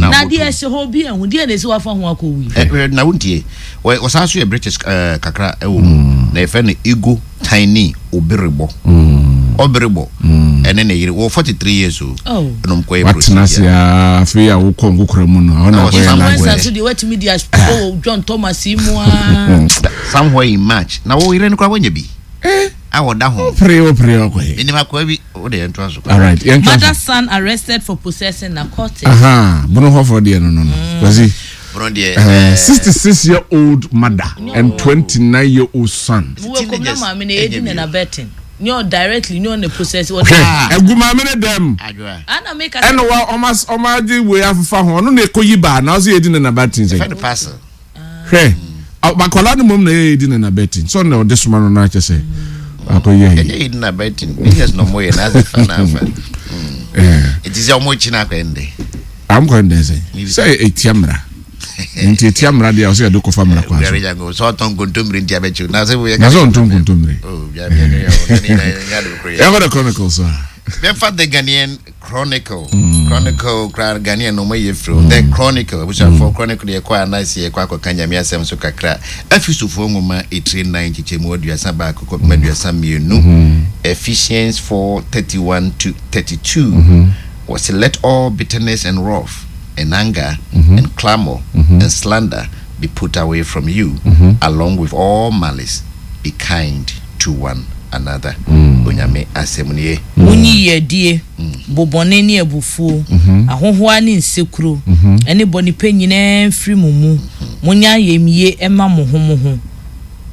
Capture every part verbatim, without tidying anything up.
Na Na ɔmo deɛ tom. Ɛhyɛ hɔ bi ɛho deɛ na esi wafa ho akɔ wi. Ɛ, ɛ, na wontie, Wɔ- wɔsan so yɛ British ɛɛ, kakra ɛwɔ mu na yɛfrɛ no Ego Tiny Obirebɔ. Ɔberebɔ ɛne ne yere wɔ forty-three years o. Oh. Ɛna ɔmo kɔyɛ Watena ase procedure. a, afei a wokɔ nkokora mu no, ɛhɔ na Na akɔyɛ wɔsan Influencer language. nso deɛ, watumi de asopɔ wɔ John Thomas yi mu aa. Somewhere in March na wo yere no koraa wanya bi a wɔda ho. Wopere, wopere ɔkɔyɛ. Menim akoa bi wode yɛntoa so. Alright, yɛntwa Mother so. son arrested for possessing narcotics. Aha, bono hɔfoɔ deɛ no no no Kwasi. Bono deɛ. uh, sixty-six year old mother and twenty-nine year old son. Wo kom na Teenagers maame na edi ɛnyɛ na bi. Na betting nyɛ ɔ directly nyɛ ɔ na possess wɔ. Hwɛ, egu maame ne dɛm. Adwoa. Ana mi ka. Ɛna wa ɔma ɔma agye wei afefa ho, ɔno na ekɔ baa na ɔsɛ yɛdi ne naba tin fɛ sɛ no parcel. Hwɛ, akwadaa no mom na yɛ yɛdi ne naba tin sɛ ɔno na ɔde soma no na akyɛ sɛ akɔ yɛ yi. Ɛnyɛ yɛdi na bɛtin business na ɔmo yɛ na asɛ fa na afa. Ɛɛ. Ɛti sɛ ɔmo kyi na akɔyɛ ndɛ. Amkɔ ndɛ sɛ sɛ etia mmara, nti etia mmara deɛ, ɔsɛ yɛde kɔfa mmara kwan so. Biara jango sɛ ɔtɔn kontommire nti abɛkyew na sɛ woyɛ. Na sɛ ɔntɔn kontommire. Oh, bia- bia- bia- bia- bia- bia- bia- Yɛkɔ The Chronicle so a. Bɛfa The Ghanaian Chronicle. Chronicle kora, Ghanaian no ɔmayɛ firi The Chronicle. Abusuafoɔ, Chronicle yɛkɔ anaasɛ yɛkɔ akɔka Nyame asɛm so kakra. Efesofoɔ nwoma ɛtire nan nkyekyɛmu aduasa baako kɔpem aduasa mmienu, Ephesians four thirty-one to thirty-two. Wɔse, "Let all bitterness and wrath and anger and clamor and slander be put away from you, along with all malice. Be kind to one another." Onyame asɛm nie. Wonyi yɛdie, bobɔne ne abufuo, ahohoa ne nsekuro ɛne bɔnipa nyinaa mfiri mo mu. Monyɛ ayamyie ɛma mo ho mo ho,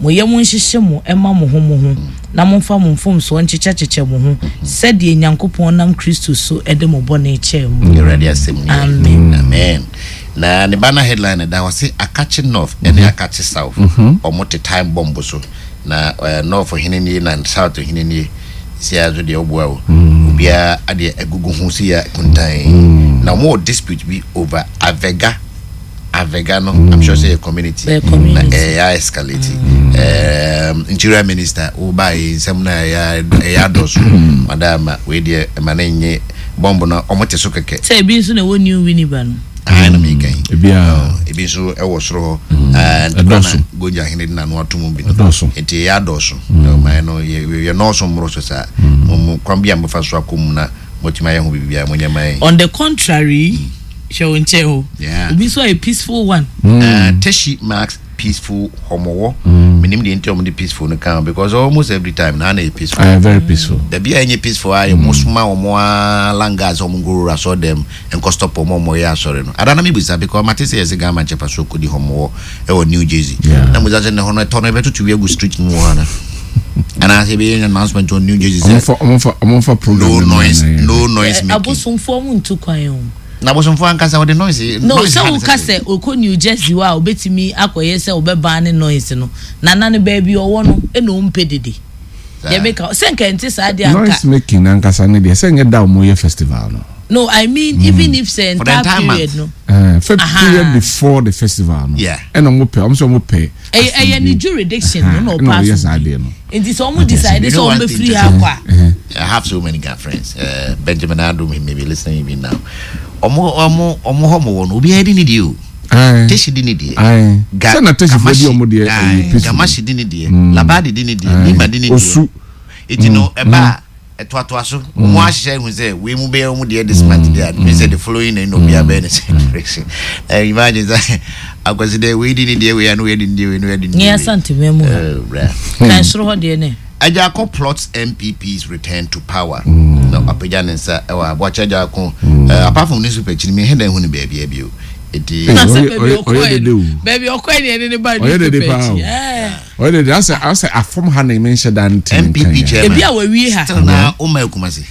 mo yam nhyehyɛ mo ɛma mo ho mo ho, na momfa mo mfomsoɔ nkyekyɛkyekyɛ mo ho sɛdeɛ Nyankopɔn nam Kristo so ɛde mo bɔne kyɛɛ mu. Awurade asɛm nie. Amen. Amen. Na ne ba na headline da hɔ sɛ Akakye North ɛne Akakye South, ɔmo te time bomb so na eh, North hene nie na South hene nie. Si a so deɛ ɔboa o, obiara adeɛ agugu ho si ya kuntan na ɔmo wɔ dispute bi over Avega. Avega no, I'm sure sɛ yɛ community. Ɛyɛ community. Na ɛyɛ escalate. um, interior Minister woba yi, nsɛm na ɛyɛ ɛyɛ adɔso madama wei deɛ, ɛma ne nye bɔmbo no, ɔmo te so kɛkɛ. Sɛ ebi nso na ɛwɔ New Winneba no. Ayi na mi kan. Ebiara. Ebi nso ɛwɔ soro hɔ. Ɛɛ, Ɛdɔɔso. na Gonja ahene de n'ano ato mu bi no. Ɛdɔɔso. Nti ɛyɛ adɔɔso. Ɔman no yɛ yɛ nɔɔso mmoro so saa. Mo mo kwan bi a mofa so akɔ mu na motumi ayɛ ho biribiara, mo nyɛ man. On the contrary, hwɛ wo nkyɛn o. Yeah. Obi nso ayɛ peaceful one. Uh, Teshi marks peaceful Homowo. Menim deɛ nti a wɔde peaceful no ka ho, because almost every time na na yɛ peaceful. Uh, very peaceful. Dabi a ɛnyɛ peaceful a, yɛ mo soma wɔn a langas wɔn nkɔwura asɔ dɛm nkɔ stop wɔn a wɔyɛ asɔre no ada. Na mi bisa because mate sɛ yɛsɛ Ghana nkyɛn so kɔdi Homowo ɛwɔ New Jersey. Yeah. Na mo bisa sɛ ne hɔ no ɛtɔ no ɛbɛtutu wi agu street mu wɔ ha na anaasɛ ɛbɛyɛ announcement on New Jersey sɛ Ɔmfa ɔmfa ɔmfa program. no no noise, na yɛ. no noise Eh, making. Abosomfoɔ mu ntu kwan o. Na abosomfoɔ ankasa wɔde noise No. Noise Sɛ ha ne woka sɛ okɔ New Jersey hɔ a, obetumi akɔyɛ sɛ ɔbɛban ne noise no nana no baabi ɔwɔ no, ɛna ɔmpɛ dede. Saa. Deɛ meka sɛ nka nte saa deɛ anka. Noise making ankasa ne deɛ, sɛ nyɛ da ɔmo yɛ festival no. No, I mean, even if sɛ For the entire entire period month. no. Uh, fɛ Aha. period before the festival no. Yeah. Ɛna ɔmo pɛ, ɔmo sɛ ɔmo pɛ. Ɛyɛ ɛyɛ ne jurisdiction no na Ɛna ɔpa ɔyɛ so saa bi. adeɛ no. Nti sɛ ɔmo decide You sɛ know ɔmo one thing bɛfiri to ha akɔ a. I have so many good friends. Uh, Benjamin Adum, he may be listening even now. Ọmọ ọmọ ọmọ hɔ mo wɔ no, obiara di ne deɛ o. Aye. Teshi di ne deɛ. Aye. Ga- Sɛ na Teshifoɔ di Kamashi- ɔmo deɛ, Aye. ɛyɛ peaceful. Gamashi di ne deɛ. Labadi di ne deɛ. Aye. Nima di ne deɛ. Osu. Eti no ɛba a ɛtoatoa so. Ɔmo ahyehyɛ ehu sɛ wei mu bɛyɛ ɔmo deɛ this month deɛ. Mi sɛ the following na ɛna obiara bɛyɛ ne same direction. Ɛ imagine sɛ akwasi dɛ wei di ne deɛ, wei ano wei di ne deɛ, wei no wei di ne deɛ. Nyɛ Asante mu ha. Oh, bra. Kan soro hɔ deɛ ne. Agyarko plots N P P's return to power. Na apagya ne nsa ɛwɔ Aboakye Agyarko. Uh, apart from newspaper akyi no, mehɛ dɛ hu no baabi bio. Eti Hey, Na sɛ ɔyɛ- baabi ɔyɛ- ɔyɛ ɔkɔɛ dede no o. baabi ɔkɔɛ ne yɛde ne ba Ɔyɛ dede newspaper paa o. akyi. Ɛɛ. Ɔyɛ dede asɛ asɛ afɔm ha na emi nhyɛ da nte ne N P P nkan yɛ. chairman. Ebi a wɔawie ha. Still na ɔma Akumase.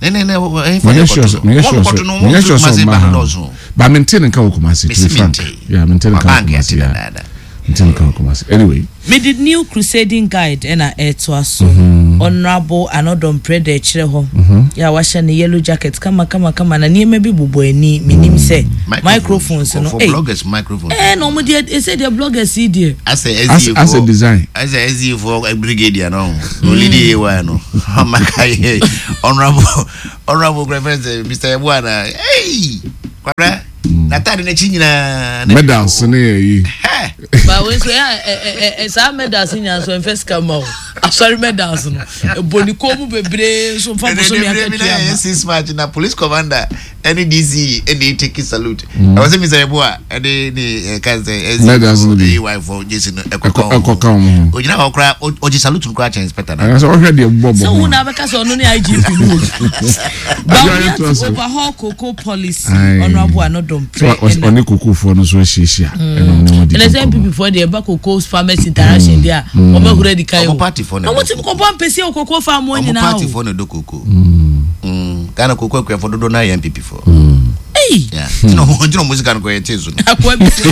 Ne ne ne ɛyɛ Menyɛ sure sɛ menyɛ sure sɛ menyɛ sure sɛ Kumase ɔmma ba ha. dɔɔso. Ba mente ne nka wɔ Kumasi, to be Mesi frank. mente. Yeah, mente ne nka wɔ Wabank Kumasi. ate Yeah. dadaada. Mente ne nka wɔ Kumasi. Anyway, Mede New Crusading Guide ɛna ɛtoa so. Honourable Annoh-Dompreh da akyerɛ hɔ yɛ a wahyɛ ne yellow jacket kama kama kama, na nneɛma bi bobɔ ani. Menim sɛ microphones no. For Ei, bloggers microphones. Ɛɛ, na ɔmo deɛ, ɛsɛ deɛ bloggers yi deɛ. Asɛ as S D A as a foɔ. design. Asɛ S D A foɔ brigadier no. Olidi A Y no. Amaka yɛ honorable honorable reference Mister Ebuana. Hey! Kwabra. N'ataade n'akyi nyinaa. Medals ne yɛ yi. Ba wei nso ɛ ɛ saa medals nyinaa nso ɛnfɛ sika ma o. Asɔre medals no ebɔ ne kɔn mu bebree nso nfa bosomi akatua ma. Six March na police commander ɛne D C ɛne take salute. Ɛwɔ sɛ Mister Eboa ɛne ne ɛka sɛ Medals no bi. A Y fo J C no ɛkɔka ɛkɔka wɔn ho. Ogyina hɔ koraa, ɔgye salute no koraa kyɛn inspector na. Ɛyɛ sɛ ɔhwɛ deɛ bɔ bɔ Sɛ wo ho. na bɛka sɛ ɔno ne I G P no wɔ Bawumia to overhaul cocoa policy. Aye. Honorable Annoh-Dompreh. So ɔne kokofoɔ no nso ahyiahyia ɛna ɔne wɔn di Ɛnɛ sɛ nkɔmmɔ. N P P foɔ deɛ, ɛba cocoa farmers interaction deɛ a, wɔn ahura di kan o. Ɔmo party foɔ na Na wɔn ti ɛdɔ kɔbɔ mpɛsi o cocoa farm wɔn Ɔmo nyinaa party o. foɔ na ɛdɔ koko. Ghana koko akuafo dodoɔ naa yɛ N P P foɔ. Eyi. Yeah. Ntina ɔmo ntina ɔmo sika no kɔ yɛ tee so no. Akoa bi sɛ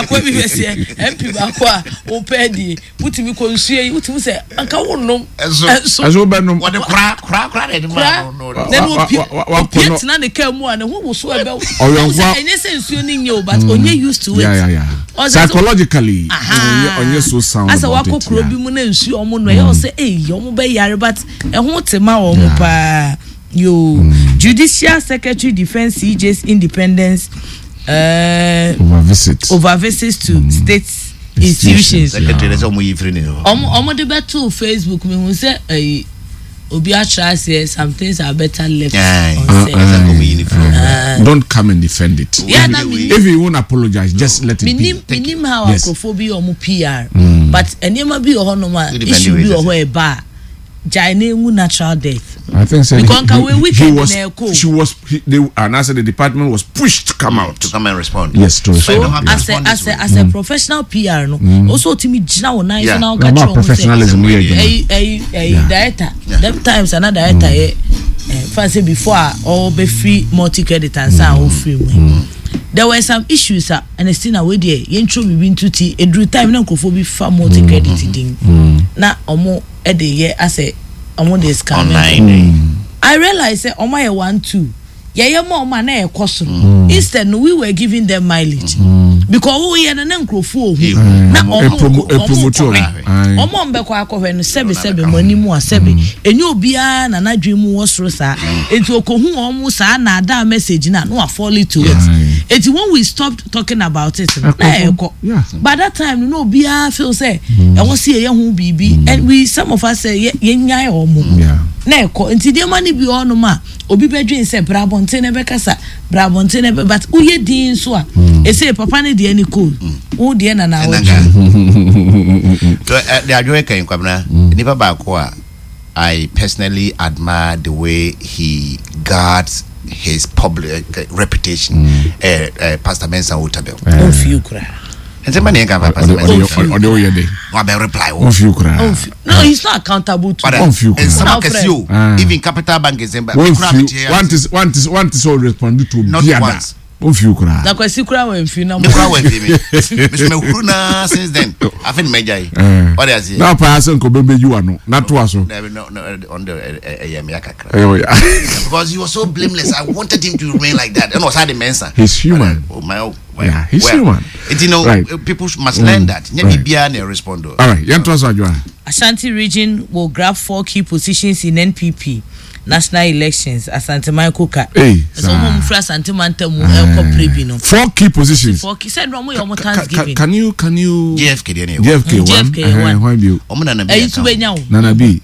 akoa bi bɛ sɛ M P baako a wopɛ die, wotumi kɔ nsuo yi, wotumi sɛ anka wo nom. Ɛnso. Ɛnso. Ɛso wobɛnom. Wɔde kora kora kora na ɛde Kora maa no no. na ne Wa- opie wa- wa- wa- opie wakɔ no- tena ne kaa mu a, ne ho woso ɛbɛ. Ɔyɔnko a- Ɛnyɛ sɛ nsuo ne nye o, but onye used to it. yeah yeah yeah Ɔsɛ sɛ- Psychologically, Aha. ɔnyɛ ɔnyɛ so sound Asɛ about wakɔ it. kuro yeah. bi mu na nsuo ɔmo no ɛyɛ ɔsɛ eyi ɔmo bɛ yare, but ɛho te ma wɔn Yeah. paa yoo. Judicial Secretary defends C J's independence uh, over visit. Over visits to state institutions. Secretary sɛ ɔmo yi firi ne hɔ. ɔmo ɔmo de bɛto Facebook, mi hu sɛ ɛyi obi atwerɛ aseɛ, "Some things are better left Aye. unsaid." Uh, uh. Ɔmo yi ne firi hɔ. Uh, don't come and defend it. Yeah, if, na me- if you won't apologize, just let it be. Minim minim how Yes. nkurɔfoɔ bi yɛ ɔmo P R, but nneɛma bi wɔ hɔnom a Who defend issue the bi wɔ way hɔ ɛba a, gyae na enwu natural death. I think so. Because nka we he weekend was, na ɛkɔ. She was, he, they, and I said the department was pushed to come out. To come and respond. Yes, to But respond. you don't have to As a respond as this a way. As a professional P R no, also otumi gyina wɔn nan so Yeah. na ɔka Na ma kyerɛ wɔn sɛ professionalism yɛ adwuma. ɛyi ɛyi ɛyi Yeah. director Yeah. dem times ana director yɛ ɛ fan sɛ before a ɔbɛfiri Multi Credit ansa a ɔfiri mu yi, there were some issues a ɛna still na wei deɛ yɛntwerɛ biribi nto ti eduru time na nkurɔfoɔ bi fa Multi Credit din na ɔmo ɛde yɛ asɛ ɔmo de scam. Online. I realize sɛ ɔmo ayɛ one two yɛyɛ ma ɔmo a na ɛkɔ soro. Instead no, we were giving them mileage because woyɛ no na nkurɔfoɔ ohu na ɔmo Epromo- ɔmo epromote kɔhwɛ. ɔmo. Aye. Ɔmo a ɔmbɛkɔ akɔhwɛ no, sɛbi sɛbi mo anim a, sɛbi enye obiara na n'adwene mu wɔ soro saa, eti okohu ɔmo saa na ada message na no wa fall to it. Aye. Eti when we stopped talking about it no, na Ɛkɔ. ɛkɔ. Yeah. By that time no, obiara feel sɛ ɛwɔ si yɛyɛ ho biribi, and we some of us sɛ yɛ yɛnyae ɔmo Yeah. na ɛkɔ. Nti nneɛma no bi wɔ hɔnom a obi bɛdwen sɛ bra abɔnten na ɛbɛkasa, bra abɔnten na ɛbɛ, but woyɛ din nso a ɛsɛ papa ne deɛ ne cool, wo deɛ na na awɔtwe. So, uh, the adwene kan Kwabena, nipa baako a I personally admire the way he guards his public uh, reputation. Uh, uh, Pastor Mensa Otabil. Ɔmfie koraa. Nsɛm ba ne yɛn kan fa Pastor Ɔde Mensa. ɔde ɔde ɔyɛ de. Wabɛ reply wo. Ɔnfiw koraa. Ɔmfie no, he's not accountable to. Ɔde Ɔnfiw koraa. nsɛm Ɔna akɛse o. Ah. Even Capital Bank nsɛm ba. Me kura Wɔnfiw. metie Wante wante wante sɛ ɔrespond to Not obiara. once. Ɔnfiw koraa. Na Kwasi koraa wɔ mfie na Me kura wɔ mfi mi. Me so me huru na since then. Afi ni mɛgya yi. Eh. Ɔde ase. Na paa sɛ nka ɔbɛbɛyi wa no na toa so. Dabi, no no ɔno de ɛyɛ me akakra. Ɛyɛ ɔyɛ. Because he was so blameless. I wanted him to remain like that. And was had the Mensa. He's human. Oh my, oh, well, Yeah, he's well. human. It, you know, Right. people must learn that. Nye Right. bibia na respond. All right, yɛn toa so, Adwoa. Ashanti Region will grab four key positions in N P P national elections, Asanteman Koka. Hey, ɛsɛ ɔmo mu firi Asanteman ntam ɛkɔ pere bi no. Four key positions. Four key sɛ ɛnna ɔmo yɛ ɔmo Ca- ca- Thanksgiving. Can you can you J F K deɛ ne yɛ. J F K one. J F K ɛhɛn, one. hwan bio? Ɔmo na na bi. Ɛyi nso bɛ nya o. Nana B.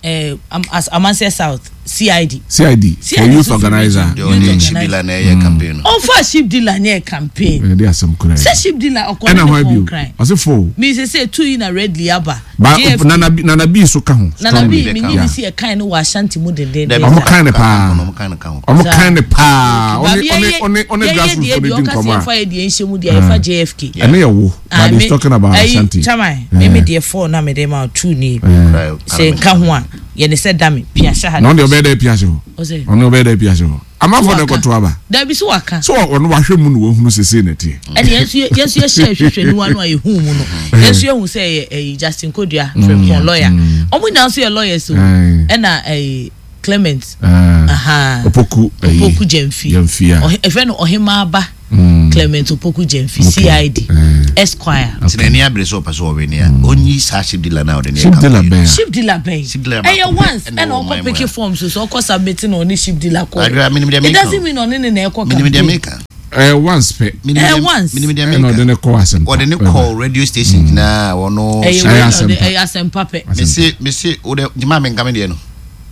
Ɛɛ am as Amansie South C I D. C I D for C I D youth so organizer. Deɛ Youth ɔne organizer. Shibila na ɛyɛ campaign no. Ɔnfa ship dealer nyɛ campaign. Ɛde asɛm koraa. Sɛ ship dealer ɔkɔ Ɛna ne hwan ne bio? phone kran. Ɔse four. Mi sɛ sɛ two yi na redly aba. Ba J F K Nana B Nana B so ka ho. Nana B strongly. mi nyi Yeah. ni si ɛkan no wɔ Ashanti mu dendenden. Dabi, Ɔmo kan ne paa. Ɔmo kan ne ka ho. Ɔmo Saa. kan ne paa. Ɔne Baabi ɔne yɛyɛ- ɔne ɔne yɛyɛ grassroots deɛ fo bi de di ɔka sɛ nkɔmɔ yɛfa a. yɛ deɛ nhyɛ mu deɛ yɛfa J F K. Ɛne yɛ wo. But he's talking about Ashanti. Chairman, mi mi deɛ four na mi de ma o, two ni. Right. Sɛ nka ho a yɛde sɛ dami pia hyɛ ha. Na ɔno deɛ ɔbɛyɛ dɛ pia hyɛ hɔ. Ɔsɛ Ɔno ɔbɛyɛ dɛ pia hyɛ hɔ. Amanfoɔ na Waka. ɛkɔto aba. Dabi so waka. So ɔno wahwɛ mu na wahunu sese na ɛteɛ. Ɛne yɛn nso yɛ- yɛn nso yɛhyɛ ahwehwɛniwa no a yɛhu mu no, yɛn nso yɛhu sɛ ɛyɛ ɛyɛ Justin Kodua Frimpong lawyer. Ɔmo nyinaa nso yɛ lawyers o. Aye. Ɛna ɛyɛ Clement. Ah. Aha. Opoku ɛyi. Opoku Gyamfi. Gyamfi a. Ɔhe- ɛfrɛ no Ɔhemaaba Mm. Clement Opoku Gyamfi. Okay. C I D Eh. Esquire. Nti n'ani abere sɛ ɔpɛ sɛ ɔwe ne a ɔnyi saa ship dealer na ɔde ne yɛ Ship dealer campaign. bɛn a. Ship dealer bɛn? Ship dealer Ɛyɛ baako once ɛna ɛna ɛwɔ ɔkɔ ɔman mu pick ha. form so so ɔkɔ submit na ɔne ship dealer kɔ. Adwoa, menim deɛ It meka. doesn't mean ɔne ne na ɛkɔ Menim deɛ campaign. meka. Eh, once pɛ. Eh, once. Ɛna ɔde ne kɔ Asɛmpa. Ɔde ne kɔ radio station nyinaa ɔno. Ɛyɛ wei ɛyɛ Asɛmpa pɛ. Mese mese o de jima mi nka mi deɛ no.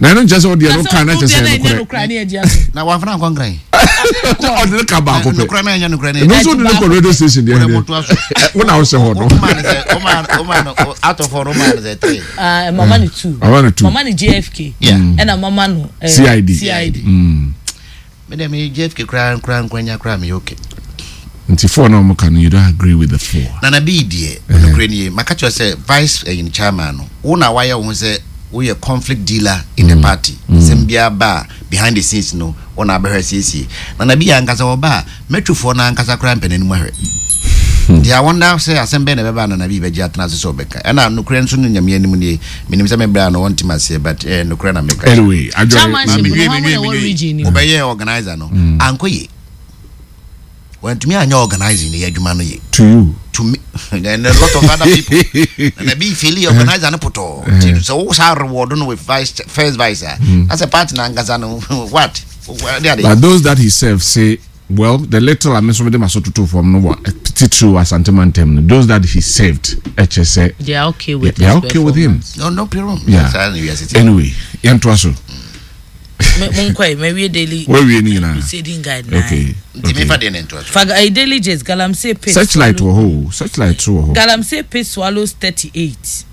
Na ɛno nkyɛn sɛ ɔdeɛ no kan na kyɛ sɛ ɛnokorɛ. Na wafana nkɔ nkran. Ɔde ne ka baako pɛ. Nokorɛ na ɛnyɛ nokorɛ na ɛno nso ɔde ne kɔ radio station deɛ deɛ. Wo na wosɛ hɔ no. Ɔma no sɛ ɔma ɔma no out of four ɔma no sɛ three. Ah, mama no two. Mama no two. Mama no J F K. Yeah. Ɛna mama no eh, C I D. C I D. Me deɛ me J F K koraa koraa nkwanya koraa me yɛ okay. Nti four na ɔmo ka no, you don't agree with the four? Nana bi deɛ, nokorɛ nie, maka kyerɛ sɛ vice ɛyin chairman no, wo na wayɛ wo ho sɛ woyɛ conflict dealer in the party. Sɛm biara ba a, behind the scenes no, wo na abɛhwɛ siesie. Nana bi yɛ ankasa wɔba a, mɛtwofoɔ no ankasa koraa mpɛ n'anim ahwɛ. Nti I wonder sɛ asɛm bɛn na ɛbɛba a Nana bi bɛgye atena ase sɛ ɔbɛka. Ɛna nokorɛ nso no, Nyame anim nie, menim sɛ mebrɛ a no wɔntem aseɛ, but eh, nokorɛ na meka. Anyway, adware. Chairmanship no, hwan mu na ɛwɔ region ni? Wobɛyɛ organizer no, ankɔ ye. Wantumi anyɛ organizing no yɛ adwuma no ye. To you. To me and a lot of other people. Na bi fail organizer no potɔ. Nti sɛ wo saa reward no with vice, first vice a, na sɛ party na ankasa no what de ade. But those that he served say, well, the little I mean, some of them are so to from no titiriw Asante mantam no, those that he served ɛkyɛ sɛ They are okay with they are his okay with him. Performance. No, no problem. Yeah. Saa na wiase te. Anyway, yɛntoa so. Me monkɔ yi, mawie Daily Wawie ne nyinaa? Crusading Guide na. Okay. Nti mefa deɛ ne ntoa so. Fa eh, Daily Gist, galamsey pit. Searchlight wɔ hɔ o, Searchlight so wɔ hɔ. Galamsey pit swallows thirty-eight.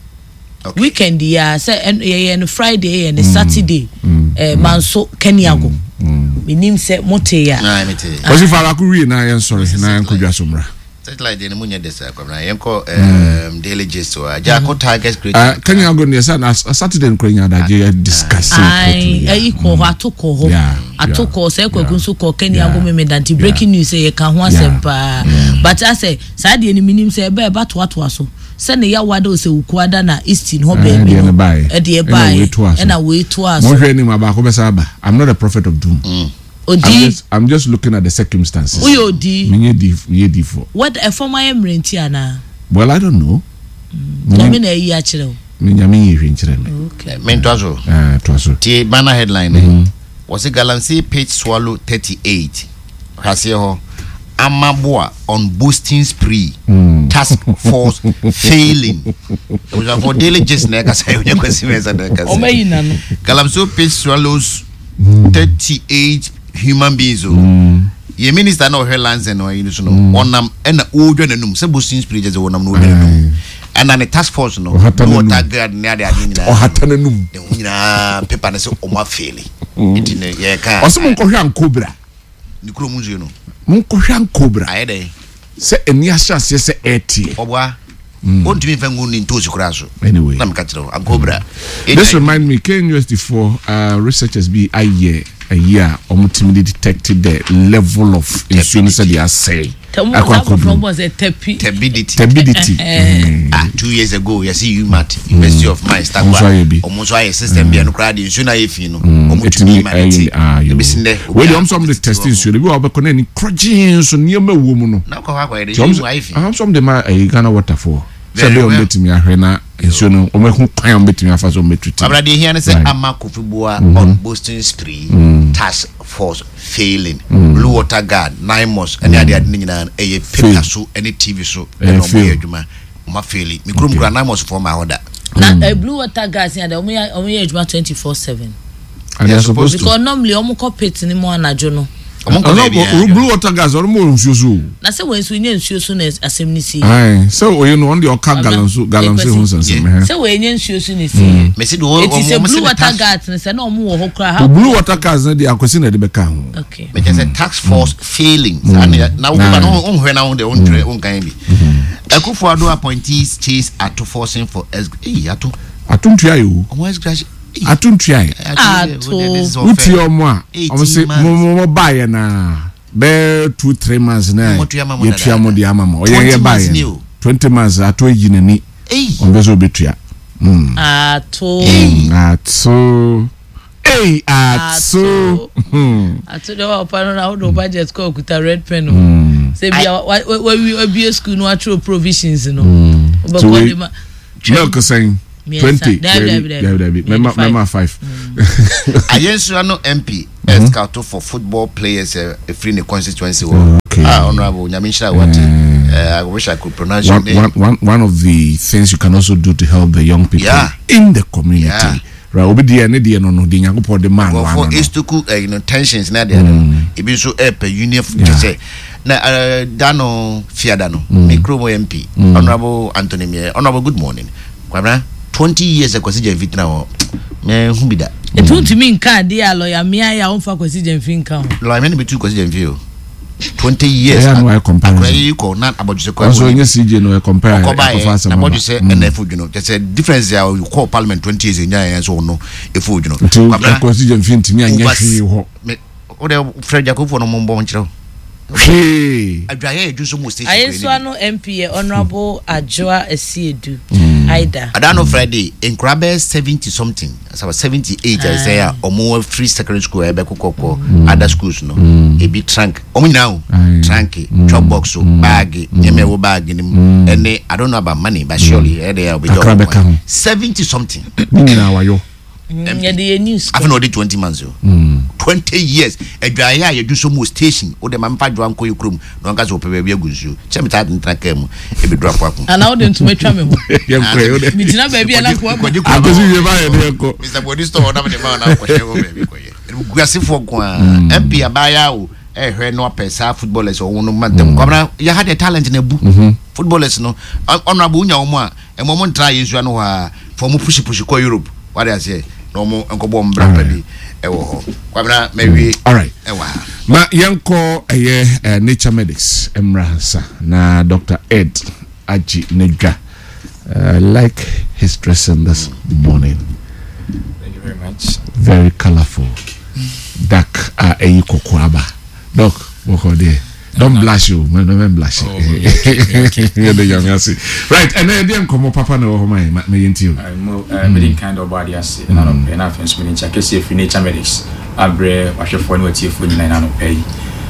Okay. Weekend yi a sɛ ɛn yɛyɛ no Friday, yɛyɛ no Saturday, ɛɛ Manso Keniago, menim sɛ mote ya. Ah, mete. Wɔsi fa baako wie na yɛnsɔre na yɛnkɔ so mmra. Searchlight deɛ no mu nyɛ de saa kwamina. Yɛnkɔ um, Daily Gist wɔ Agyako Tigers create. Uh, Keniago deɛ sɛ na Saturday nkora nya adagye yɛ discuss. Ayi, ɛyi kɔ hɔ, ato kɔ hɔ. Yeah, ato yeah, kɔ sɛ Kwaku yeah. nso kɔ Keniago Yeah. Memeda, nti breaking news sɛ yɛka ho asɛm Yeah. paa, but asɛ saa deɛ no menim sɛ ɛbɛ ɛba toatoa so sɛ ne yawa de sɛ Wukuada na Easton hɔ baabi ɛdeɛ no no baeɛ. Ɛdeɛ Ɛna baeɛ. wei toa so. Ɛna wei toa so. Monhwɛ anim, abaako bɛsa aba. I'm not a prophet of doom. I'm Odi just, I'm just looking at the circumstances. Woyɛ odi. Menyɛ di, menyɛ difoɔ. What ɛfɔm ayɛ mmerɛnti anaa? Well, I don't know. Nyame na ayi akyerɛ wo. Me Nyame yi hwɛ nkyerɛ me. Okay. Mentoa so. Ah, toa so. Tie banner headline mm. Wɔsi galamsey pit swallow thirty-eight. Hwaseɛ hɔ, Amaboa on boasting spree, mm. task force failing. For Daily Gist na ɛkasa yɛ, onye Kwasi Mɛnsa na ɛkasa. Ɔmo ayi n'ano. Galamsey pit swallows thirty-eight human beings o. Yɛ minister na ɔhwɛ lands and ɔyi no so no, ɔnam ɛna ɔredwa n'anum sɛ boasting spree kyɛ sɛ ɔnam na ɔredwa n'anum, ɛna ne task force no Ɔhata n'anum. Water guard ne ade ade nyinaa. Ɔhata n'anum. Ne ho nyinaa paper ne sɛ ɔmo afail, nti ne yɛka. Ɔsɛ monkɔhwɛ Ankobra. Ne kurom nsuo no. Monkɔhwɛ Ankobra. Ayɛ dɛ. Sɛ ani ahyɛ aseɛ sɛ ɛɛteɛ. Ɔboa, ɔntumi nfa ngu ne ntoosi koraa so. Anyway. Na meka kyerɛ wo Ankobra. This remind me, K N U S T for uh, researchers bi ayɛ ayi a ɔmo tumi de detect the level of nsuo no sɛ deɛ asɛe Tɛmu akɔ saa abɔfra akɔduru. bɔ sɛ tɛpi. Turbidity. Turbidity. Mm. Ah, two years ago yɛsi UMaT, University of Mines, Ɔmo nso ayɛ bi. Ɔmo nso ayɛ system bi a no koraa de nsuo no ayɛ fi no, ɔmo tumi ɛtumi ma ne te ɛyɛ, ah, yo. Ebisi ndɛ. Wei deɛ, ɔmo sɛ ɔmo de test nsuo no bi wɔ ɔbɛkɔ na ani korɔgyee nso nneɛma ɛwɔ mu no. Na kɔ hɔ akɔyɛ de Nti ɔmo nsuo mu ayɛ fi. sɛ ɔmo sɛ ɔmo de ma ɛyi Ghana Water foɔ sɛ Very ɛbɛyɛ ɔmo well. bɛtumi ahwɛ na nsuo no ɔmo ehu kwan a ɔmo bɛtumi afa so ɔmo bɛtutu. Abra, deɛ ehia ne sɛ Right. Ama Kofi Boa on boasting spree, task force failing, Blue Water Guard, NAIMOS ɛne ade ade ne nyinaa no, ɛyɛ paper Fail. so ɛne T V so Ɛyɛ ɛna ɔmo yɛ fail. adwuma, ɔmo afail. Mi kurom kura NAIMOS foɔ ma hɔ da. Na eh, Blue Water Guards yɛ de, ɔmo yɛ ɔmo yɛ adwuma twenty four seven. And they are supposed to. Because normally ɔmo kɔ pit ne mu anadwo no. Ɔmo nkɔ Ɔno baabi a Blue Water Guards, ɔno mo wɔ nsuo so o. Na sɛ wɔn nso nye nsuo so na asɛm ne si. Ayi sɛ oye no, ɔno deɛ ɔka galamsey galamsey ho nsɛnsɛm ɛhɛn. Sɛ wɔn nye nsuo so na esi. Mesi de wɔn Eti wɔn sɛ wɔn Blue si ne Water task Guards ne sɛ na ɔmo wɔ hɔ koraa. O Blue Water Guards no deɛ, Akwasi na ɛde bɛka ho. Okay. Mɛkyɛ sɛ task force failing saa ne na wo ba no nhwɛ na wo de wontwerɛ wonkan bi. Akufo Addo appointees chase Ato Forson for ex eyi Ato. Ato ntua yi o. Ɔmo ex gratia. Ato ntua yi. Ato. Wotie ɔmo a ɔmo se mo mo mo baayɛ na bɛɛ two three months na Mo tua ma mo yɛtua mo dadaada. de ama mo ɔyɛ twenty yɛ months baayɛ ni no o. twenty months Ato yi n'ani. Eyi. Ɔmo bɛ sɛ obetua. Mm. Ato. Ato ei, Ato. Hmm. Ato deɛ, wa ɔpa no na wode wo budget kɔ okuta red pen o. Sɛ bia wa wa wawie abie school no, watwerɛ provisions no. So Wobɛkɔ wei- de ma. Milk sɛn? Mmiɛnsa. Twenty. Dabi, dabi, dabi dabi, dabi. mɛma Five. mɛma five. Ayensua no M P scout for football players ɛ efiri ne constituency wɔ. Okay. Ah, Honorable Nyame nhyira wate. Eh, I wish I could pronounce your One, name. one, one, one of the things you can also do to help the young people Yeah. in the community. Yeah. Right. Obi deɛ ne deɛ no no deɛ Nyankopɔn de maa no ano Nkurɔfoɔ no. estoku eh, you know, tensions na deɛ no ebi nso ɛpɛ union Yeah. kyɛ sɛ na eh, da no fiada no me kurom M P, Honorable Anthony Mier. Honorable, good morning. Kwabena, twenty years Akwasi Gyamfi tena hɔ, mehu bi da. Etu ntumi nka adeɛ a lɔya mmea yɛ a wɔmfa Kwasi Gyamfi nka ho. Lɔya no bɛtu Kwasi Gyamfi o, twenty years. Ɛyɛ a na wayɛ comparison. Akora yi kɔ na abɔdwesɛ kɔ. Ɔnso ɛnyɛ C J no ɛ compare ɔkɔba ɛkɔfa yɛ asɛm na aba. abɔdwesɛ ɛna ɛfo dwono kyɛ sɛ difference a ɔkɔɔ parliament twenty years ɛnya yɛn so ɔno ɛfo dwono. Nti Kwabena, Akwasi Gyamfi ntumi anyɛ over- hwee hɔ. Me wode frɛ Gyakofoɔ no mombɔ nkyerɛ wo. Hwee. Adwaeɛ yɛdwu so mu station. Ayensoa no M P yɛ Honourable Adwoa Asiedu Aida. Ada no Friday, nkura bɛyɛ seventy something, asaba seventy eight a sɛ a ɔmo free secondary school a ɛbɛkɔ kɔkɔ other schools no, ebi trunk ɔmo nyinaa o. Aye. Trunk, chop box o, bag, nneɛma ɛwɔ bag no mu ɛne, I don't know about money, but surely ɛde a ɔbɛgye. Kakra bɛka ho. Seventy something. Ne nyinaa wayɔ. Mm, yɛde yɛ news. Afei na ɔde twenty months o, twenty years adwaeɛ a yɛdwu so mu wɔ station wode ma mfa dwoa nkɔ yɛ kurom na ɔnka sɛ ɔpɛ baabi agu nsuo kyɛ metaa tentena kaa mu ɛbɛduru apoako. Anaa wode ntoma twa me ho? Yɛnkɔ yɛ wode. Megyina baabi a na nkoa ba. Akwasi wie ba yɛ de yɛnkɔ. Mister Bodi store ɔnam de ma ɔnam kɔhyɛ hɔ baabi kɔyɛ guasefoɔ nko a M P abaayewa o, ɛhwɛ no apɛ saa footballers ɔwɔ no mantam. Kwamina, yɛha deɛ talent na bu footballers no. Honorable, wonya wɔn a ɛmɔ mo ntra yɛ nsua no hɔ a fa ɔmo push push kɔ Europe wade aseɛ na ɔmo nkɔbɔ mbra pa bi ɛwɔ hɔ. Kwamina, mɛwie. Alright. Ɛwɔ ha. Ma yɛnkɔ ɛyɛ eh, Nature Medics mmra nsa na Doctor Ed agye n'adwa. I like his dressing this morning. Thank you very much. Very colourful, dark a ɛyi kɔkɔɔ aba. Doc, bɔkɔ deɛ, don't blush o, mɛ mɛ blush. Oh, okay, okay. Yɛde Nyame ase. Right, ɛnɛ yɛdeɛ nkɔmmɔ papa na ɛwɔ hɔ ma yɛ ma ma yɛntie o. Uh, mo uh, mede nkan dɛ ɔbɔ ade ase ɛna anɔpɛ na afei nso mede nkyɛ kɛseɛ firi Nature Medics abrɛ wahwɛfoɔ ne watiefoɔ nyinaa ɛna anɔpɛ yi.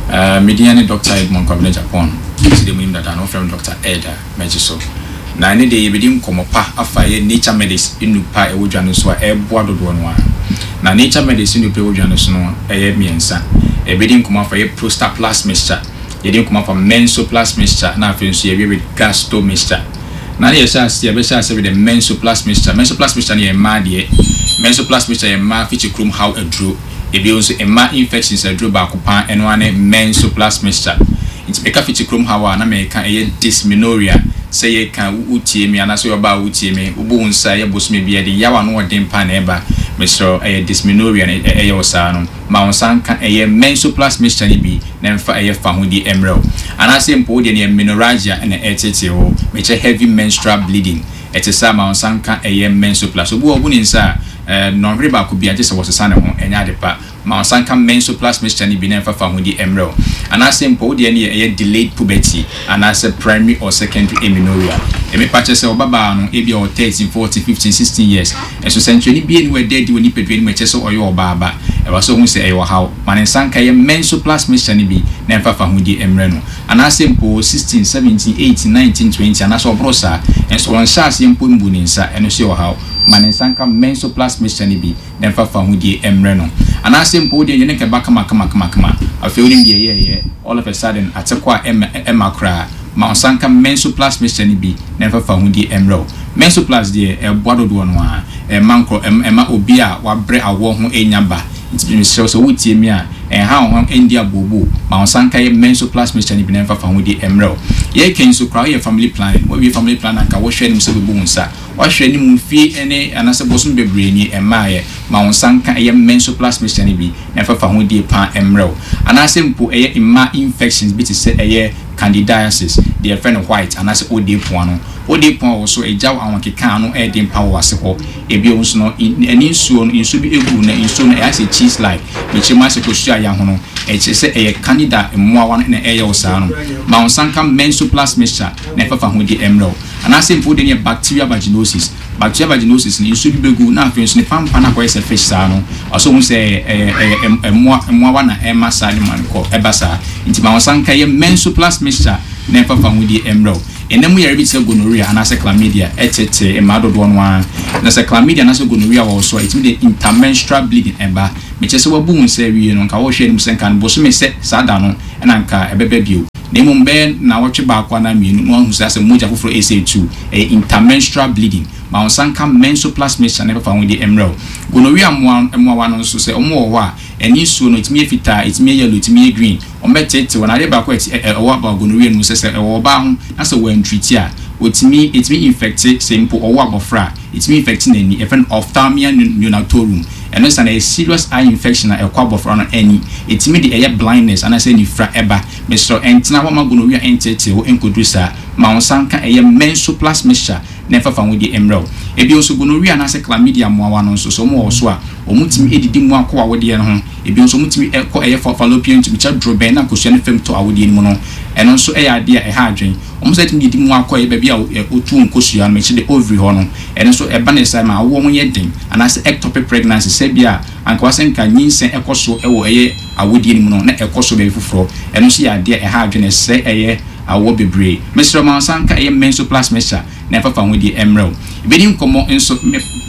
Uh, medin ne Doctor Edmond Kwabena Japan sɛ deɛ munim dada no, wofrɛ me Doctor Ed a mɛgye so. Na ɛne deɛ yɛbɛdi nkɔmmɔ pa afa yɛ Nature Medics nnupa a ɛwɔ dwa no so a ɛboa dodoɔ no a. Na Nature Medics nnupa a ɛwɔ dwa no so no ɛyɛ mmiɛnsa. Yɛbɛdi nkɔmmɔ afa yɛ Prosta Plus mixture, yɛdi nkɔmmɔ afa Menso Plus mixture, na afei nso yɛwie with Gasto mixture. Na ne yɛhyɛ ase, yɛbɛhyɛ ase with the Menso Plus mixture. Menso Plus mixture no yɛ mmaa deɛ. Menso Plus mixture yɛ mmaa fikyi kurom haw aduro. Ebi nso mmaa infections aduro baako paa, ɛno ara ne Menso Plus mixture. Nti meka fikyi kurom haw a, na meka ɛyɛ dysmenorrhea. Sɛ yɛka wotie mi anaasɛ yɛ ɔbaa wotie mi, wobu wo nsa ɛyɛ bosome bi ɛde yaw ano ɔden pa na ɛba, mesrɛ, ɛyɛ dysmenorrhea na ɛyɛ wɔ saa no, ma wo nsa nka ɛyɛ Menso Plus mixture no bi na mfa ɛyɛ fa ho di mmerɛw. Anaasɛ mpo wodeɛ no yɛ menorrhagia ɛna ɛtetee hɔ, mekyɛ heavy menstrual bleeding, ɛte saa, ma wo nsa nka ɛyɛ Menso Plus. Obi wɔ ɔbu ne nsa a ɛɛ nnɔnhwere baako bi agye sɛ wɔsesa ne ho, ɛnyɛ ade pa, ma wo nsa nka Menso Plus mixture no bi na ɛmfa fa ho di mmerɛw. Anaasɛ mpo wodeɛ no yɛ ɛyɛ delayed puberty anaasɛ primary or secondary amenorrhea, ɛmepa kyerɛ sɛ ɔbabaa no ebi a ɔwɔ thirteen, fourteen, fifteen, sixteen years, ɛso sɛnkyerɛnne bie ne wɔada adi wɔ nipadua no mu ɛkyerɛ sɛ ɔyɛ ɔbaa ba, ɛwɔ sɛ ohun sɛ ɛyɛ ɔhaw, ma ne nsa nka yɛ Menso Plus mixture no bi na ɛmfa fa ho di mmerɛ no. Anaasɛ mpo sixteen, seventeen, eighteen, nineteen, twenty anaasɛ ɔboro saa ɛnso wɔnhyɛ aseɛ mpo mbu ne nsa, ɛno nso yɛ ɔhaw, ma ne nsa nka Menso Plus mixture no bi na ɛmfa fa ho die mmerɛ no. Anaasɛ mpo wodeɛ yɛ ne nkɛba kama kama kama kama, afei wonim deɛ ɛyɛɛyɛ, all of a sudden ate kɔ a ɛma ɛma koraa, ma wo nsa nka Menso Plus mixture no bi na ɛmfa fa ho die mmerɛ wo. Menso Plus deɛ ɛboa dodoɔ no a ɛma nkorɔ ɛma obi a wabrɛ awoɔ ho ɛnya ba. Nti mesrɛ wo sɛ wotie mi a, ɛnha wo ho ɛndi abooboo, ma wo nsa nka yɛ Menso Plus mixture no bi na ɛmfa fa ho die mmerɛ wo. Yɛka nso koraa woyɛ family planning, wawie family planning, anka wohwɛ anim sɛ wobɛbu wo nsa, wahwɛ anim mfie ne anaasɛ bɔsom bebree ni ɛmmaayɛ, ma wo nsa nka ɛyɛ Menso Plus mixture no bi na ɛmfa fa ho die paa mmerɛ wo. Anaasɛ mpo ɛyɛ mmaa infections bi te sɛ ɛyɛ candidiasis deɛ yɛfrɛ no white anaasɛ ode poa no, ode poa wɔ so ɛgya wo ahokeka ano ɛɛden pa wɔ ase hɔ. Ebi nso no ɛne nsuo no, nsuo bi egu na nsuo no ɛyɛ sɛ cheese like, mekyerɛ mu asɛ kosua yɛ ho no, ɛkyerɛ sɛ ɛyɛ candida mmoawa no na ɛyɛ wo saa no, ma wo nsa nka Menso Plus mixture na ɛfafa ho di mmerɛ wo. Anaasɛ mpo de no yɛ bacterial vaginosis. Bacterial vaginosis no, nsuo bi bɛgu na afei nso ne pampa no akɔyɛ sɛ fish saa no, ɔsɛ ohun sɛ ɛyɛ ɛyɛ mmoa mmoawa na ɛma saa ne ma no kɔ ɛba saa. Nti ma wo nsa nka yɛ Menso Plus mixture na ɛfafa ho di mmerɛ wo. Ɛnam mu yɛrɛ bi te sɛ gonorrhea anaasɛ chlamydia ɛtete mmaa dodoɔ no ara. Na sɛ chlamydia anaasɛ gonorrhea wɔ so a, ɛtumi de intermenstrual bleeding ɛba, mekyerɛ sɛ wabu wo nsa awie no, nka wɔhwɛ anim sɛ nka no bosome sɛ saa da no ɛna nka ɛbɛba bio. Na mmom bɛyɛ nawɔtwe baako anaa mmienu na wahu sɛ asɛ mogya foforɔ ɛsɛ etu, ɛyɛ intermenstrual bleeding. Ma wɔn nsa nka Menso Plus mixture na ɛbɛfa ho de mmerɛw. Gonorrhea mmoa mmoawa no nso, sɛ wɔn wɔ hɔ a, ɛne nsuo no ɛtumi yɛ fitaa, ɛtumi yɛ yellow, ɛtumi yɛ green. Wɔn bɛtete wɔn adeɛ baako a ɛwɔ aba gonorrhea no mu sɛ sɛ ɛwɔ ɔbaa ho na sɛ wɔn treat a, wɔtumi ɛtumi infect. Sɛ mpo ɔwɔ abɔfra a, ɛtumi infect n'ani. Yɛfrɛ no ophthalmia neonatorum. Ɛno nsa na ɛyɛ serious eye infection a ɛkɔ abɔfra no ani, ɛtumi de ɛyɛ blindness anaasɛ nifra ɛba. Mesrɛ, ɛntena hɔ ma gonorrhea ɛntete wo nkɔduru saa. Ma wɔn nsa nka ɛyɛ Menso Plus mixture na ɛfafa ho di mmerɛw. Ebi nso, gonorrhea anaasɛ chlamydia mmoawa no nso, sɛ wɔn wɔ so a, wɔn tumi edidi mu akɔ awodeɛ no ho. Ebi nso, wɔn tumi ɛkɔ ɛyɛ fallopian tube kyɛ dorobɛn na nkosua no fam tɔ awodeɛ no mu no. Ɛno nso ɛyɛ adeɛ a ɛha adwene. Wɔn nso tumi didi mu akɔ ɛyɛ baabi a otu nkosua no, mɛkyɛ de ovary hɔ no. Ɛno nso ɛba ne sa ma awoɔ ho yɛ den anaasɛ ectopic pregnancy, sɛ bi a anka wasɛ nka nyinsɛn ɛkɔ so ɛwɔ ɛyɛ awodeɛ no mu no, na ɛkɔ so baabi foforɔ. Ɛno nso yɛ adeɛ a ɛha adwene, ɛsɛ ɛyɛ awoɔ bebree. Mesrɛ, ma nsa nka ɛyɛ Menso Plus mixture na ɛfafa ho di mmerɛw. Ebedi nkɔmɔ nso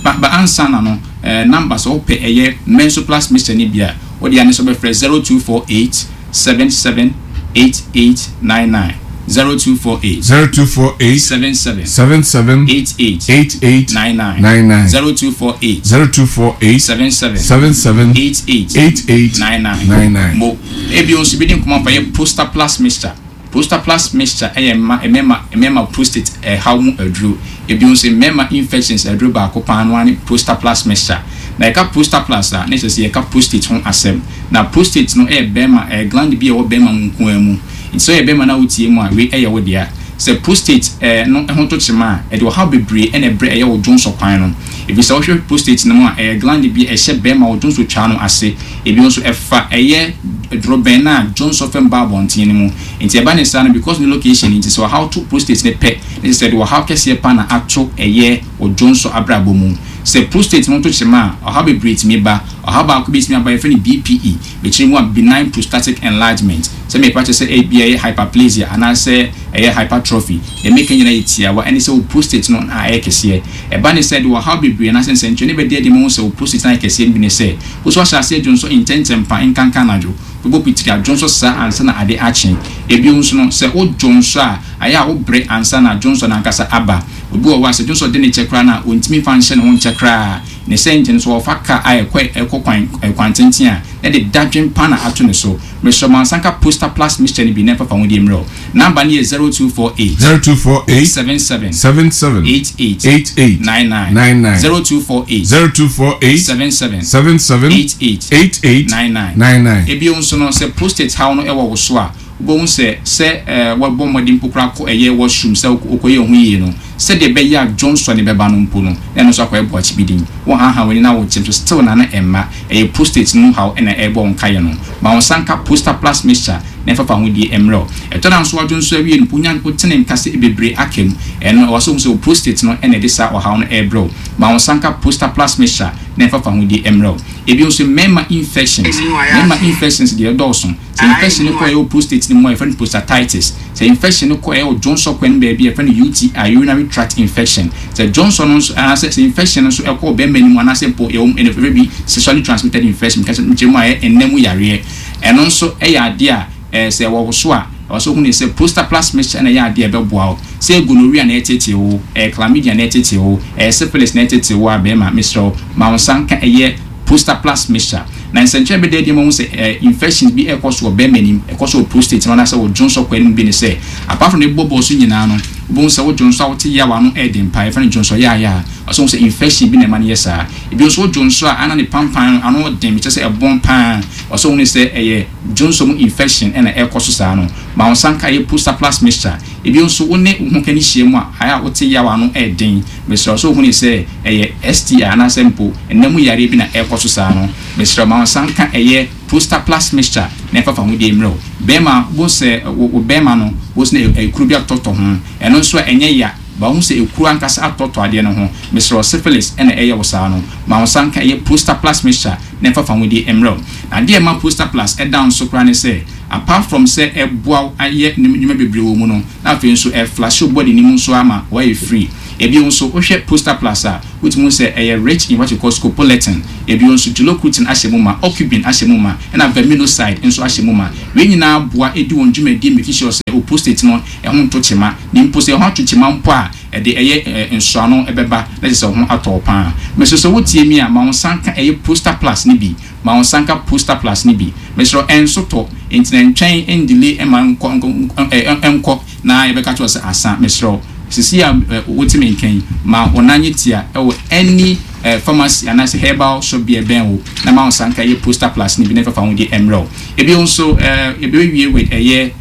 ba ba ansa na no ɛɛ number, sɛ wopɛ ɛyɛ Menso Plus mixture ni bi a, wode ane so bɛfrɛ zero two four eight seven seven eight eight nine nine, zero two four eight zero two four eight seven seven seven seven eight eight eight eight nine nine nine nine zero two four eight zero two four eight seven seven seven seven eight eight eight eight nine nine nine nine. Mo ebi nso bi di nkɔmɔ fa yɛ Prostate Plus mixture. Prostate Plus mixture ɛyɛ mma mmarima mmarima prostate ɛhaw mu aduro. Ebi nso, mmarima infections aduro baako paa no ne Prostate Plus mixture. Na yɛka Prostate Plus a, ne kyerɛ sɛ yɛka prostate ho asɛm. Na prostate no ɛyɛ bɛrima, ɛyɛ gland bi a ɛwɔ bɛrima mu nkoa mu. Nti sɛ ɔyɛ bɛrima na wotie mu a, wei ɛyɛ wo dea. Sɛ prostate ɛɛ no ɛho to kyema a, ɛde ɔhaw bebree ɛna ɛbrɛ ɛyɛ wo dwonsɔ kwan no. Ebi sɛ wohwɛ prostate no mu a, ɛyɛ gland bi a ɛhyɛ bɛrima wo dwonsɔ twa no ase. Ebi nso ɛfa ɛyɛ dorobɛn na dwonsɔ fam ba abɔnten no mu. Nti ɛba ne saa no, because ne location nti, sɛ ɔhaw to prostate ne pɛ ne sɛ de ɔhaw kɛseɛ pa na ato ɛyɛ wo dwonsɔ abrabɔ mu. Sɛ prostate no to kyema a, ɔhaw bebree tumi ba. Ɔhaw baako bi tumi aba, yɛfrɛ no B P E, bɛkyerɛ mu a benign prostatic enlargement. Sɛ mepa kyerɛ sɛ ebi ɛyɛ hyperplasia anaasɛ ɛyɛ hypertrophy, deɛ meka nyinaa yɛ tiawa, ɛne sɛ wo prostate no na ayɛ kɛseɛ. Ɛba ne sɛ de ɔhaw bebree anaasɛ nsɛnkyerɛnne bɛdi adi ma wo sɛ wo prostate no ayɛ kɛseɛ no bi ne sɛ wo so ahyɛ aseɛ dwonsɔ ntɛntɛm pa, nkanka anadwo bɛbɔ pitiri adwonsɔ saa ansa na ade akye. Ebio nso no, sɛ wo dwonsɔ a, ayɛ a wobrɛ ansa na dwonsɔ no ankasa aba. Obi wɔ hɔ a, sɛ dwonsɔ de ne kyɛ koraa no a, ɔntumi fa nhyɛ ne ho nkyɛ koraa. Ne sɛ nkyɛn so wɔfa ka a ɛkɔ ɛkɔ kwan kwan tenten a, na de dadwen pa na ato ne so. Mesrɛ, mo ansanka Prostate Plus mixture no bi na ɛfafa ho deɛ mmerɛw. Number no yɛ zero two four eight zero two four eight seven seven seven seven eight eight eight eight nine nine nine nine zero two four eight zero two four eight seven seven seven seven eight eight eight eight nine nine nine nine. Ebio nso no, sɛ prostate haw no ɛwɔ wo so a, wobɛhu sɛ sɛ ɛɛ wɔbɔ mmɔden mpo koraa kɔ ɛyɛ washroom sɛ wokɔyɛ ho yie no, sɛdeɛ ɛbɛyɛ a dwonsɔ ne bɛba no mpo no, na ɛno nso akɔyɛ boakye bi din. Wɔn haha w'ani na wɔkyɛm so still na na ɛmma. Ɛyɛ prostate no haw ɛna ɛrebɔ wɔn kaeɛ no. Ma wɔn nsa nka Prostate Plus mixture na ɛfafa ho die mmerɛw. Ɛtɔ da nso, wadwo nso awie no mpo, nya wotene nka sɛ bebree aka mu. Ɛno ɛwɔ so sɛ wo prostate no ɛna ɛde saa ɔhaw no ɛrebrɛw. Ma wɔn nsa nka Prostate Plus mixture na ɛfafa ho die mmerɛw. Ebi nso, mmarima infections. Mmarima infections deɛ, ɛdɔɔso. Sɛ infection no kɔ ɛyɛ wo prostate no mu a, yɛfrɛ no prostatitis. Sɛ infection no kɔ ɛyɛ wo dwonsɔ kwan no baabi a, yɛfrɛ no U T I, urinary tract infection. Sɛ dwonsɔ no nso anaasɛ sɛ infection no nso ɛkɔ bɛrima no mu anaasɛ mpo yɛwɔ ɛna yɛfrɛ bi sexually transmitted infection, kɛsɛ nkyɛn mu a ɛyɛ ɛnam mu yareɛ, ɛno nso ɛyɛ adeɛ a ɛɛ sɛ ɛwɔ wo so a, ɛwɔ so hu ne sɛ Prostate Plus mixture ɛna ɛyɛ adeɛ a ɛbɛboa wo. Sɛ gonorrhea na ɛtete wo, ɛyɛ chlamydia na ɛtete wo, ɛyɛ syphilis na ɛtete wo a, bɛrima, mesrɛ wo, ma wo nsa nka ɛyɛ Prostate Plus mixture. Na nsɛnkyerɛ bɛda adi ma ho sɛ ɛɛ infections bi ɛkɔ so wɔ bɛrima anim, ɛkɔ so wɔ prostate no anaasɛ wɔ dwonsɔ kwan mu bi ne sɛ, apart from ne bɔbɔ so nyinaa no, wobɛhu sɛ wo dwonsɔ a wote yaw ano ɛɛden pa, yɛfrɛ no dwonsɔ yaaya a, ɔsɛ hu sɛ infection bi na ɛma no yɛ saa. Ebi nso, wo dwonsɔ a ana ne pampan no ano den, kyerɛ sɛ ɛbɔn paa, ɔsɛ hu ne sɛ ɛyɛ dwonsɔ mu infection ɛna ɛkɔ so saa no. Ma wo nsa nka ɛyɛ Prostate Plus mixture. Ebi nso, wo ne wo ho kani hyia mu a, ayɛ a wote yaw ano ɛɛden, mesrɛ, ɔsɛ hu ne sɛ ɛyɛ S T I anaasɛ mpo ɛnam mu yareɛ bi na ɛkɔ so saa no. Mesrɛ, ma wo nsa nka ɛyɛ Prostate Plus mixture na ɛfafa ho deɛ mmerɛw. Bɛrima bo sɛ wo bɛrima no bo sɛ ekuro bi atɔtɔ ho, ɛno nso a ɛnyɛ ya ba ho sɛ ekuro ankasa atɔtɔ adeɛ no ho, mesrɛ, syphilis ɛna ɛyɛ wo saa no. Ma wo nsa nka ɛyɛ Prostate Plus mixture na ɛfafa ho deɛ mmerɛw. Na adeɛ ɛma Prostate Plus ɛda nso koraa ne sɛ, apart from sɛ ɛboa ayɛ nneɛma bebree wɔ mu no, na afei nso ɛflush wo body ne mu nso ama wɔayɛ free. Ebi nso, wohwɛ Poster Plus a, wotumi sɛ ɛyɛ rich in what you call scopoletin. Ebi nso, gelocrutin ahyɛ mu ma, aucubin ahyɛ mu ma, ɛna verminoside nso ahyɛ mu ma. Wei nyinaa boa edi wɔn dwumadie, make sure sɛ o prostate no ɛho nto kyema, ne mpo sɛ ɛho ato kyema mpo a, ɛde ɛyɛ ɛɛ nsoano ɛbɛba na kyerɛ sɛ ɔho atɔ paa. Mɛsɛ sɛ wotie mi a, ma wɔn nsa nka ɛyɛ Poster Plus ne bi, ma wɔn nsa nka Poster Plus ne bi. Mɛsrɛ, ɛnso tɔ nti na ntwɛn ndile ɛma nkɔ nkɔ ɛɛ nkɔ na yɛbɛka kyerɛ sɛ asa. Mɛsrɛ, sisi a wote me nkan, ma wɔn nan nyɛ tia ɛwɔ any ɛɛ pharmacy anaasɛ herbal shop bi ɛbɛn wo na ma wɔn nsa nka ɛyɛ Poster Plus ne bi na ɛfɛfa ho de ɛmrɛ wo. Ebi nso, ɛɛ ebi with ɛyɛ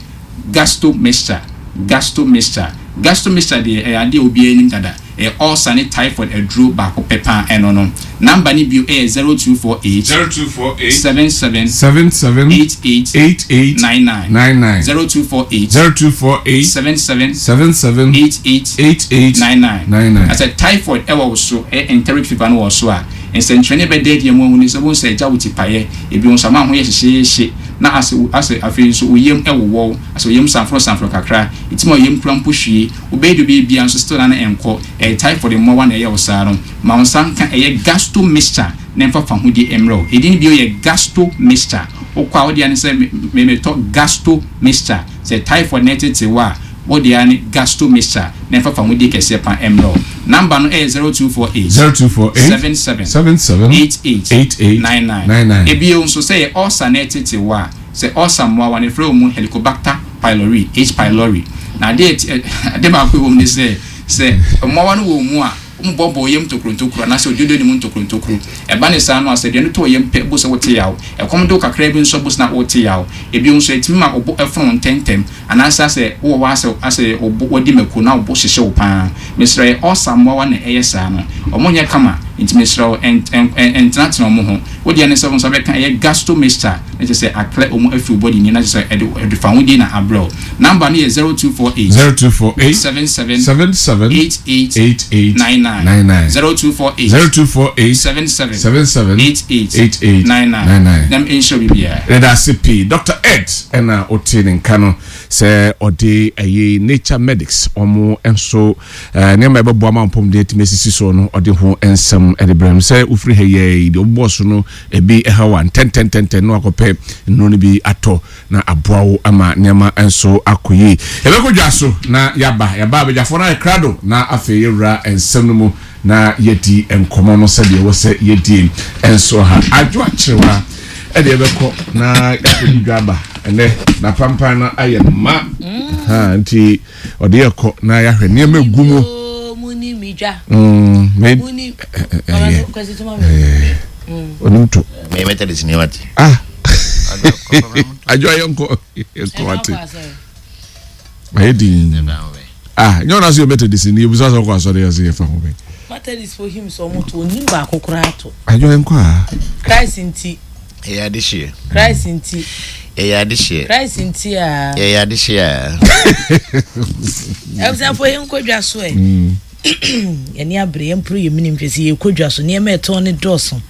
Gasto Mixture. Gasto Mixture, Gasto Mixture deɛ, ɛyɛ adeɛ a obiara anim dada. Ɛyɛ ulcer ne typhoid aduro baako pɛ paa. Ɛno no number ne bio ɛyɛ zero two four eight zero two four eight seven seven seven seven eight eight eight eight nine nine nine nine zero two four eight zero two four eight seven seven seven seven eight eight eight eight nine nine nine nine. Asɛ typhoid ɛwɔ wo so, ɛyɛ enteric fever no wɔ so a, nsɛnkyerɛnne bɛda adi mu ahu ne sɛ wɔn sɛ ɛgya wo ti paeɛ. Ebi nso ama ho yɛ hyehyɛhye na asɛ asɛ afei nso wo yam ɛwowɔw, asɛ wo yam sanforo sanforo kakra, eti ma yam kura mpo hwie wobɛyɛ de obi bia nso still na ne nkɔ. Ɛyɛ typhoid mmoawa na ɛyɛ wo saa no. Ma wo nsa nka ɛyɛ Gasto Mixture na mfa fa ho di mmerɛw. Edin bio yɛ Gasto Mixture. Wokɔ a, wode ane sɛ memetɔ Gasto Mixture. Sɛ typhoid na ɛtete wɔ a, wode ane Gasto Mixture na mfa fa ho di kɛseɛ pa mmerɛw. Number no ɛyɛ zero two four eight zero two four eight seven seven seven seven eight eight eight eight nine nine nine nine. Ebio nso, sɛ yɛ ulcer na ɛtete wɔ a, sɛ ulcer mmoawa no efrɛ wɔ mu Helicobacter pylori, H pylori, na adeɛ ɛti ade baako wɔ mu ne sɛ sɛ mmoawa no wɔ mu a, wɔn bɔbɔ yam ntokuro anaasɛ ododo ne mu ntokuro ntokuro. Ɛba ne saa no a, sɛ aduane tɔ yam pɛ bo sɛ wote yaw, ɛkɔm do kakra bi nso bo sɛ na wote yaw. Ebi nso, ɛtumi ma ɔbo ɛfono ntɛntɛm anaasɛ asɛ wowɔ hɔ asɛ asɛ ɔbo wɔdi mako na ɔbo hyehyɛ wo paa. Mesrɛ, yɛ ulcer mmoawa na ɛyɛ saa no. Ɔmo nyɛ kama, nti mesrɛ wo, ɛntenatena ɔmo ho. Wodeɛ ne sɛ wo nsa bɛka ɛyɛ Gasto Mixture na kyerɛ sɛ aklɛ ɔmo afiri body ni na kyerɛ sɛ ɛde ɛde fa ho die na abrɛ wo. Number no yɛ zero two four eight zero two four eight seven seven seven seven eight eight eight eight nine nine nine nine zero two four eight zero two four eight seven seven seven seven eight eight eight eight nine nine nine nine. Nam nhyɛ biribiara. Ɛda ase pii, Doctor Ed. Ɛna ɔte ne nka no sɛ ɔde ɛyɛ Nature Medics, ɔmo nso ɛɛ nneɛma ɛbɛboa ma mpɔmuden atumi asisi soɔ no, ɔde ho nsɛm ɛde brɛ mu sɛ wofiri ha yɛ deɛ ɔbobɔ so no ebi ɛha wa ntɛntɛntɛntɛn na wakɔpɛ nnuro no bi atɔ na aboa wo ama nneɛma nso akɔ yie. Yɛbɛkɔ dwa so na yaba yaba abadwafoɔ no ayɛ krado na afei yɛwura nsɛm no mu na yɛdi nkɔmɔ no sɛdeɛ ɛwɔ sɛ yɛdi nso ha adwo akyerewa ɛde yɛbɛkɔ na yɛakɔdi dwa aba. Ɛnɛ na pampan no ayɛ ma ha, nti ɔde yɛkɔ na yɛahwɛ nneɛma egu mu. Oo, mu ni mi dwa. Mm, me mu ni. Ɛyɛ. Kwasi tuma mi. Onim to. Me Methodist ni wate. Ah, adwo ayɛ nkɔ yɛnkɔ wate. Ayɛ din ah, nyɛ ɔna so yɛ Methodist ni, ebusa sɛ ɔkɔ asɔre yɛ sɛ yɛfa ho bɛ. Methodist fo hymn sɛ ɔmo to onim baako koraa to. Adwo yɛnkɔ a. Christ nti. Ɛyɛ adehyeɛ. Christ nti. Ɛyɛ adehyeɛ. Christ nti a. Ɛyɛ adehyeɛ a. Abusuafo, yɛn nkɔ dwa so ɛ. Yɛne abere yɛn mporo yɛ minim hwɛ sɛ yɛkɔ dwa so, nneɛma ɛtɔn ne dɔɔso.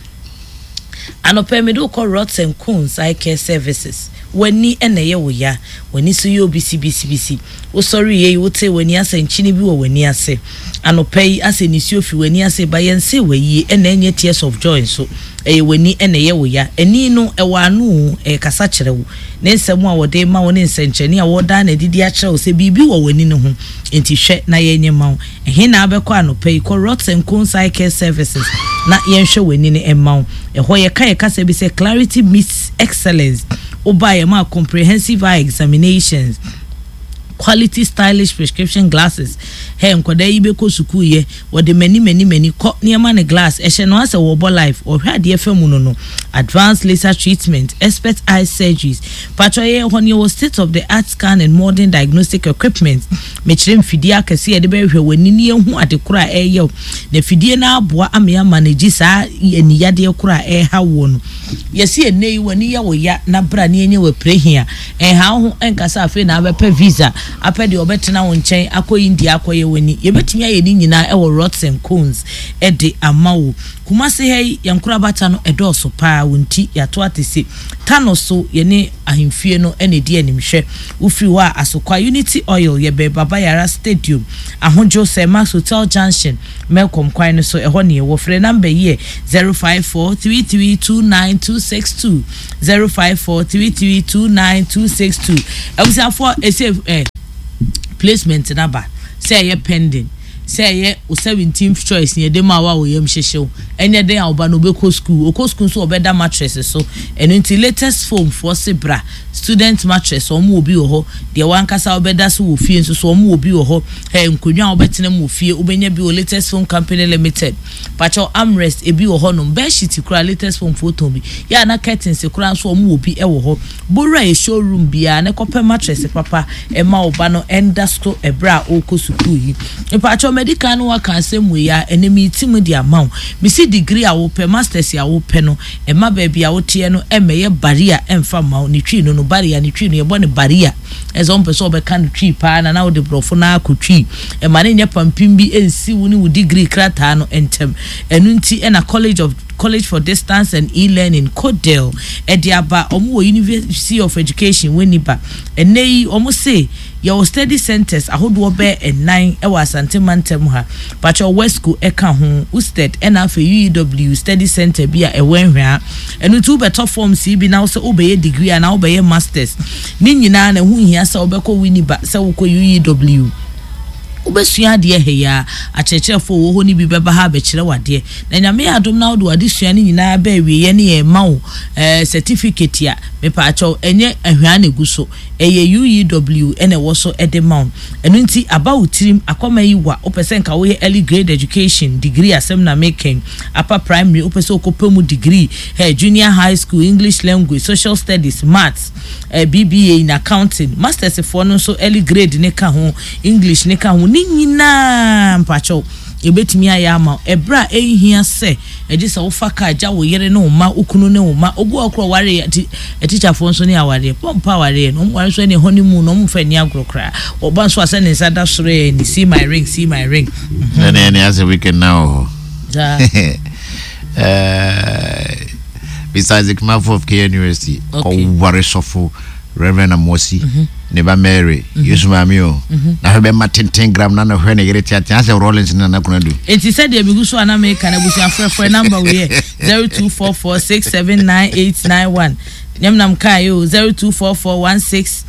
Anɔpɛ mede wokɔ Rods and Cones Eye Care Services. W'ani ɛna ɛyɛ wo ya, w'ani so yɛ obisibisibisi, wosɔre yɛ yi, wote w'ani asɛ nkyini bi wɔ w'ani ase. Anɔpɛ yi asɛ nisuo fi w'ani ase ba, yɛn se w'ayie ɛna ɛnyɛ tears of joy nso, ɛyɛ w'ani ɛna ɛyɛ wo ya. Ani no ɛwɔ ano o, ɛyɛ kasa kyerɛ wo ne nsɛm a wɔde ma wo ne nsɛnkyerɛnne a wɔda na adidi akyerɛ wo sɛ biribi wɔ w'ani no ho. Nti hwɛ na yɛnyɛ ma wo. Ɛhe na abɛkɔ anɔpɛ yi? Kɔ Rods and Cones Eye Care Services na yɛnhwɛ w'ani no ɛma wo. Ɛhɔ yɛka yɛkasa bi sɛ clarity meets excellence. Woba yɛ ma comprehensive eye examinations, quality stylish prescription glasses. Hey, nkwadaa yi bɛkɔ sukuu yɛ, wɔde mani mani mani kɔ nneɛma ne glass ɛhyɛ no asɛ wɔbɔ life, ɔhwɛ adeɛ fɛ mu no no advanced laser treatment, expert eye surgeries. Patro, yɛ hɔ ne yɛwɔ state of the art scan and modern diagnostic equipment. Mekyerɛ mfidie akɛse yɛde bɛhwɛ w'ani ne yɛhu ade koro a ɛyɛ wo, na fidie no aboa ama yɛ manage saa aniyadeɛ koro a ɛreha woɔ no. Yɛsi ɛnɛ yi w'ani yɛ wo ya na bra ne yɛnyɛ wɔ prehia. Ɛnha wo ho ɛnkasa afei na abɛpɛ visa apɛ deɛ ɔbɛtena wo nkyɛn akɔ India akɔyɛ w'ani. Yɛbɛtumi ayɛ ne nyinaa ɛwɔ Rods and Cones ɛde ama wo. Kumase ha yi, yɛn nkorabata no ɛdɔɔso paa. Wɔn ti yɛato ate se tano so yɛne Ahemfie no ɛna ɛdi animhwɛ. Wofiri hɔ a, Asokwa Unity Oil, yɛbɛn Baba Yara Stadium, Ahodwo Sir Max Hotel Junction, Melcom kwan no so, ɛhɔ ne yɛwɔ. Frɛ number yi yɛ zero five four three three two nine two six two, zero five four three three two nine two six two. Abusuafoɔ, ɛsɛ ɛ placement naba sɛ ɛyɛ pending, sɛ ɛyɛ o seventeenth choice ne yɛde ma wa wɔ yam hyehyew, ɛnyɛ den a ɔba no ɔbɛkɔ school, ɔkɔ school nso ɔbɛda mattress so. Ɛno nti Latest Foam foɔ se bra. Student mattress, wɔn wɔ bi wɔ hɔ. Deɛ wankasa ɔbɛda so wɔ fie nso so, wɔn wɔ bi wɔ hɔ. Ɛ nkonnwa a wɔbɛtena mu wɔ fie, wobɛnya bi wɔ Latest Foam Company Limited. Pakyɛw, armrest ebi wɔ hɔnom, bedsheet kora Latest Foam foɔ tɔn bi yɛ ana, curtains kora nso wɔn wɔ bi wɔ hɔ. Bowura yɛ showroom biara ne kɔpɛ mattress papa ɛma ɔba no ɛnda so ɛbrɛ a ɔrekɔ sukuu yi. Mpakyɛw, medical no waka asɛm wɔ yi a ɛnɛ mi ti mu de ama wo. Misi degree a wopɛ, masters a wopɛ no, ɛma baabi a woteɛ no ɛmɛyɛ barrier ɛmfa ma wo. Ne twi no no barrier, ne twi no yɛbɔ ne barrier, ɛsɛ wɔn pɛ sɛ ɔbɛka no twi paa na na wode borɔfo na akɔ twi. Ɛma ne nyɛ pampim bi ɛnsi wo ne wo degree krataa no ntɛm. Ɛno nti ɛna college of College for Distance and E-Learning, CODEL, ɛde aba. Wɔn wɔ University of Education Winneba. Ɛnɛ yi wɔn se yɛwɔ study centers ahodoɔ bɛɛ ɛnan ɛwɔ Asante mantam ha. Pakyɛw, Wesco ɛka ho, USTED, ɛna afei U E W study center bi a ɛwɔ Nhwea. Ɛno nti wobɛtɔ forms yi bi na wosɛ wobɛyɛ degree anaa wobɛyɛ masters ne nyinaa na ɛho hia sɛ wobɛkɔ Winneba, sɛ wokɔ U E W, wobɛsua adeɛ ha yi a, akyerɛkyerɛfoɔ wɔ hɔ no bi bɛba ha abɛkyerɛ wadeɛ. Na Nyame yɛ adom na wode wade sua no nyinaa bɛ awieɛ ne yɛ ma wo ɛɛ certificate a, mepaakyɛw, ɛnyɛ ahwea na egu so, ɛyɛ U E W ɛna ɛwɔ so ɛde ma wo. Ɛno nti aba wo tirim akɔma yi wa wopɛ sɛ nka woyɛ early grade education degree asɛm na mekɛn, upper primary wopɛ sɛ wokɔpɛ mu degree, hey, junior high school English language, social studies, maths, eh, B B A in accounting, masters foɔ no nso early grade ne ka ho, English ne ka ho, ne nyinaa mpakyɛw ebetumi ayɛ ama ɛbrɛ a ɛnhia sɛ ɛgye sɛ wofa kaa gya wo yere ne wo ma, wo kunu ne wo ma. Obi wɔ korɔ ware ɛti ɛtikyafoɔ nso ne awareɛ pɔmpa awareɛ no, ɔmo ware nso ɛne honeymoon na ɔmo nfa ani agorɔ koraa. Ɔba nso asɛ ne nsa da soro yɛ ne "See my ring, see my ring." Ɛne ɛne asɛ weekend na wɔ Saa. Hɔ. Eh, besides the Kumafo of K University, Okay. kɔware sɔfo Reverend Amosi ne ba Mary, Yesu maame o, na hwɛ bɛma tenten gram na na hwɛ ne yere teatea asɛ Rollins ne Nana Konadu. Eti sɛdeɛ mi gu so a na meka na abusua, frɛfrɛ number wei yɛ zero two four four six seven nine eight nine one. Nyɛm nam kaa yi o, zero two four four one six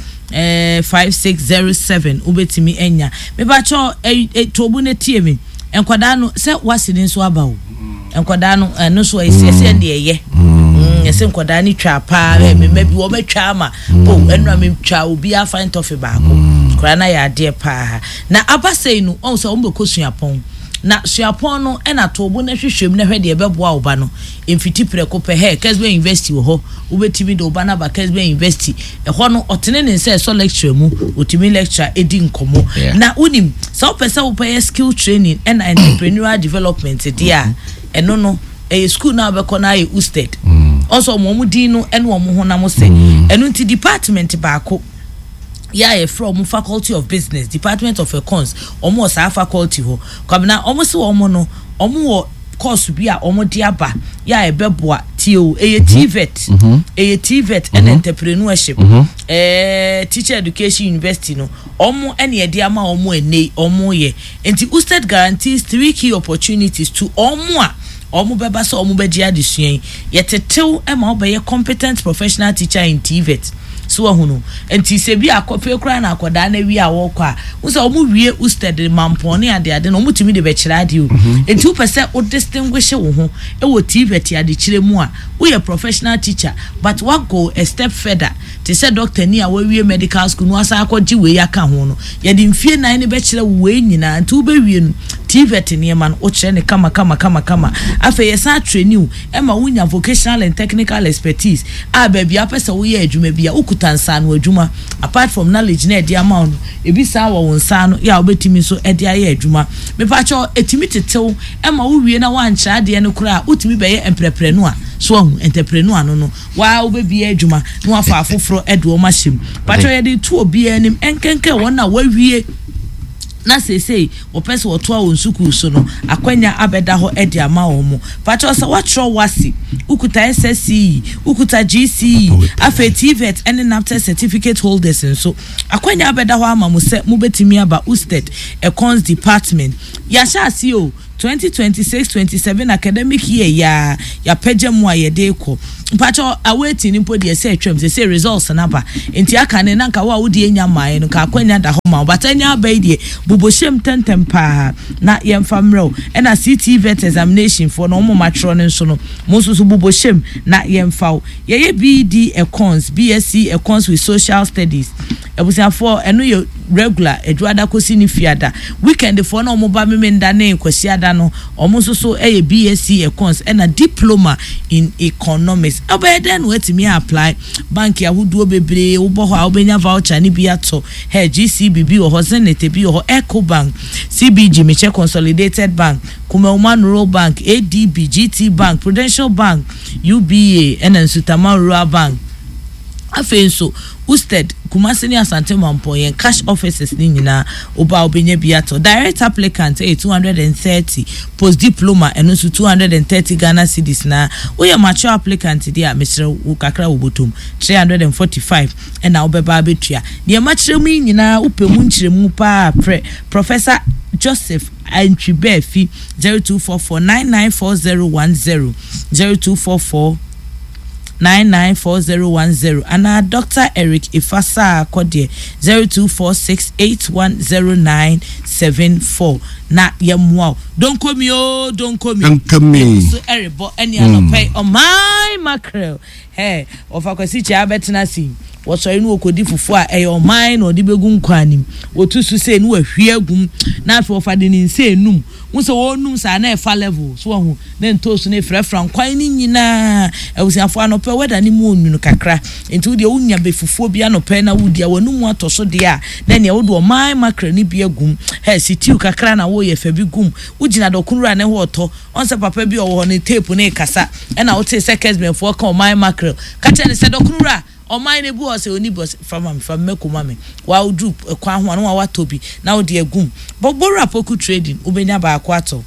five six zero seven. Wobɛtumi anya mebakyɛ ɛ tobu ne tie mi. Nkwadaa no sɛ wasi ne nso aba o, nkwadaa no ɛno nso ɛsi ɛsɛ ɛdeɛ ɛyɛ ɛsɛ nkwadaa no twa paa. Ɛ mɛmɛ bi wɔbɛtwa ama o, ɛnura mi twa obi afa ntɔfe baako koraa na yɛ adeɛ paa. Na aba sɛyi no, ɔn sɛ wɔn bɛkɔ suapɔn, na suapɔn no ɛna tobo na hwehwɛ mu na hwɛ deɛ ɛbɛboa wo ba no. Mfiti prɛko pɛ hɛ Kesben University wɔ hɔ, wobɛtumi de wo ba no aba Kesben University. Ɛhɔ no ɔtene ne nsa ɛsɔ lecture mu, otumi lecture edi nkɔmɔ. Yeah. Na wonim sɛ wopɛ sɛ wopɛyɛ skill training ɛna entrepreneurial development deɛ a, ɛno no ɛyɛ school na wobɛkɔ no ayɛ USTED. Ɔsɔ ɔmo ɔmo din no ɛne ɔmo honam sɛ ɛno nti department baako yɛ a yɛfrɛ ɔmo Faculty of Business, Department of Econs. Ɔmo wɔ saa faculty hɔ, Kwabena. Ɔmo sɛ ɔmo no ɔmo wɔ course bi a ɔmo de aba yɛ a ɛbɛboa. Tie o, ɛyɛ T V E T, ɛyɛ T V E T ɛna entrepreneurship. ɛɛ teacher education university no, ɔmo ɛna yɛde ama ɔmo ɛnɛ yi ɔmo yɛ. Nti USTED guarantees three key opportunities to ɔmo a ɔmo bɛba sɛ ɔmo bɛgye adesua yi. Yɛtetew ɛma ɔbɛyɛ competent professional teacher in T V E T so wahu no. Nti sɛ bi akɔfɛ koraa na akɔdaa na wie a wɔkɔ a wo sɛ ɔmo wie USTED mampɔn ne adeade na ɔmo tumi de bɛkyerɛ adeɛ o. Nti wopɛ sɛ wo distinguish wo ho ɛwɔ T V E T adekyerɛ mu a, woyɛ professional teacher but wa go a step further te sɛ doctor ni a wawie medical school no wasan akɔgye wei aka ho no, yɛde mfie nan ne bɛkyerɛ wo wei nyinaa. Nti wobɛwie no, T V E T nneɛma no wokyerɛ ne kama kama kama kama. Afei yɛsan train wo ɛma wonya vocational and technical expertise a baabi a wopɛ sɛ woyɛ adwuma bi a wokuta nsaano adwuma. Apart from knowledge na ɛde ama wo no, ebi saa wɔ wo nsa ano yɛ a wobɛtumi nso ɛde ayɛ adwuma. Mepakyɛw, ɛtumi tetew ɛma wowie na woankyerɛ adeɛ no koraa a, wotumi bɛyɛ entrepreneur. So ahu entrepreneur no no waa wobɛbie adwuma na wafa afoforɔ ɛde wɔn ahyɛ mu. Pakyɛw, yɛde to obiara anim ɛnkɛnkɛn wɔn a wawie Na seesei wɔpɛ sɛ wɔtoa wɔn sukuu so no, akwanya abɛda hɔ de ama wɔn. Mo pakyɛw, sɛ woatwerɛ WASSCE, wokuta S S C E, wokuta G C E, afei TVET ne NABTEB certificate holders nso, akwanya abɛda hɔ ama mo sɛ mobɛtumi aba USTED Econs Department. Yɛahyɛ ase o, twenty twenty-six twenty-seven academic year yaa yɛapɛgya mu a yɛde kɔ. Mpakyɛw, awaiting ni mpo deɛ sɛ atwam sɛ sɛ results naba nti aka ne nanka wo a wode anya mmaeɛ no ka akwanya da hɔ ma wo bata anya aba yi deɛ, bobɔhyɛm tɛntɛm paa na yɛmfa mmerɛ wo. Ɛna C T vet examination foɔ no, ɔmo matwerɛ no nso no, mo nso so bobɔhyɛm na yɛmfa wo. Yɛyɛ B E D Econs, B S C Econs with Social Studies. Abusuafoɔ, ɛno yɛ regular adwuada kɔsi ne fiada. Weekend foɔ na ɔmo ba memenda ne kwasiada no, ɔmo nso so ɛyɛ B S C Econs ɛna Diploma in Economics. Ɔbɛyɛ dɛn na watumi apply? Bank ahodoɔ bebree wobɔ hɔ a wobɛnya voucher ne bi atɔ. Hɛ, G C B bi wɔ hɔ, Zenith bi wɔ hɔ, Ecobank, C B G, mekyɛ Consolidated Bank, Kumawu Rural Bank, A D B, G T Bank, Prudential Bank, U B A, ɛna Nsutama Rural Bank. Afei nso USTED Kumasi ne Asante Mampɔn, yɛn cash offices ne nyinaa, woba a wobɛnya bi atɔ. Direct applicant ɛyɛ two hundred and thirty, post diploma ɛno nso two hundred and thirty Ghana cedis. Na woyɛ mature applicant deɛ a, mesrɛ wo kakra wɔ bɔtɔm, three hundred and forty-five ɛna wobɛba abɛtua. Deɛ makyerɛ mu yi nyinaa, wopɛ mu nkyerɛmu paa, prɛ Professor Joseph Antwi-Baafi, zero two four four nine nine four zero one zero, zero two four four nine nine four zero one zero, anaa Doctor Eric Ifasa akɔdeɛ, zero two four six eight one zero nine seven four, na yɛmmoa wo. Donkomi o, donkomi. Donkomi. So ɛrebɔ ɛne anɔpɛ ɔman mackerel. Ɛ ɔfa Kwasi Kyia abɛtena ase, wɔsɔre no wɔkɔdi fufuo a ɛyɛ ɔman na ɔde bɛgu nkwan nim. Wɔtu so sei ne wɔahwie agum, na afei wɔfa de ne nsa enum wo sɛ wɔnum saa na ɛfa level so wɔho na ntoosu no efrafra nkwan no nyinaa. Abusuafoɔ, anɔpɛ wɛda ne mu onwunu kakra, nti wodeɛ wonya bɛ fufuo bi anɔpɛ na wodi a wɔnum atɔ so deɛ a, na nea wode ɔman mackerel no bi agum. Hɛ, stew kakra na wɔyɛ fɛ bi gum. Wogyina dɔkono ne ho ɔtɔ ɔn sɛ papa bi ɔwɔ hɔ ne tape ne kasa, ɛna wote sɛ kɛsibɛnfoɔ ka ɔman mackerel, ka kyerɛ ne sɛ dɔkono ɔman no ebu hɔ sɛ oni bɔ fama mi fa mmɛko ma mi wa woduru kwan ho a na wa watɔ bi na wode agum. Bɔbɔwura Poku Trading, wobɛnya baako atɔ.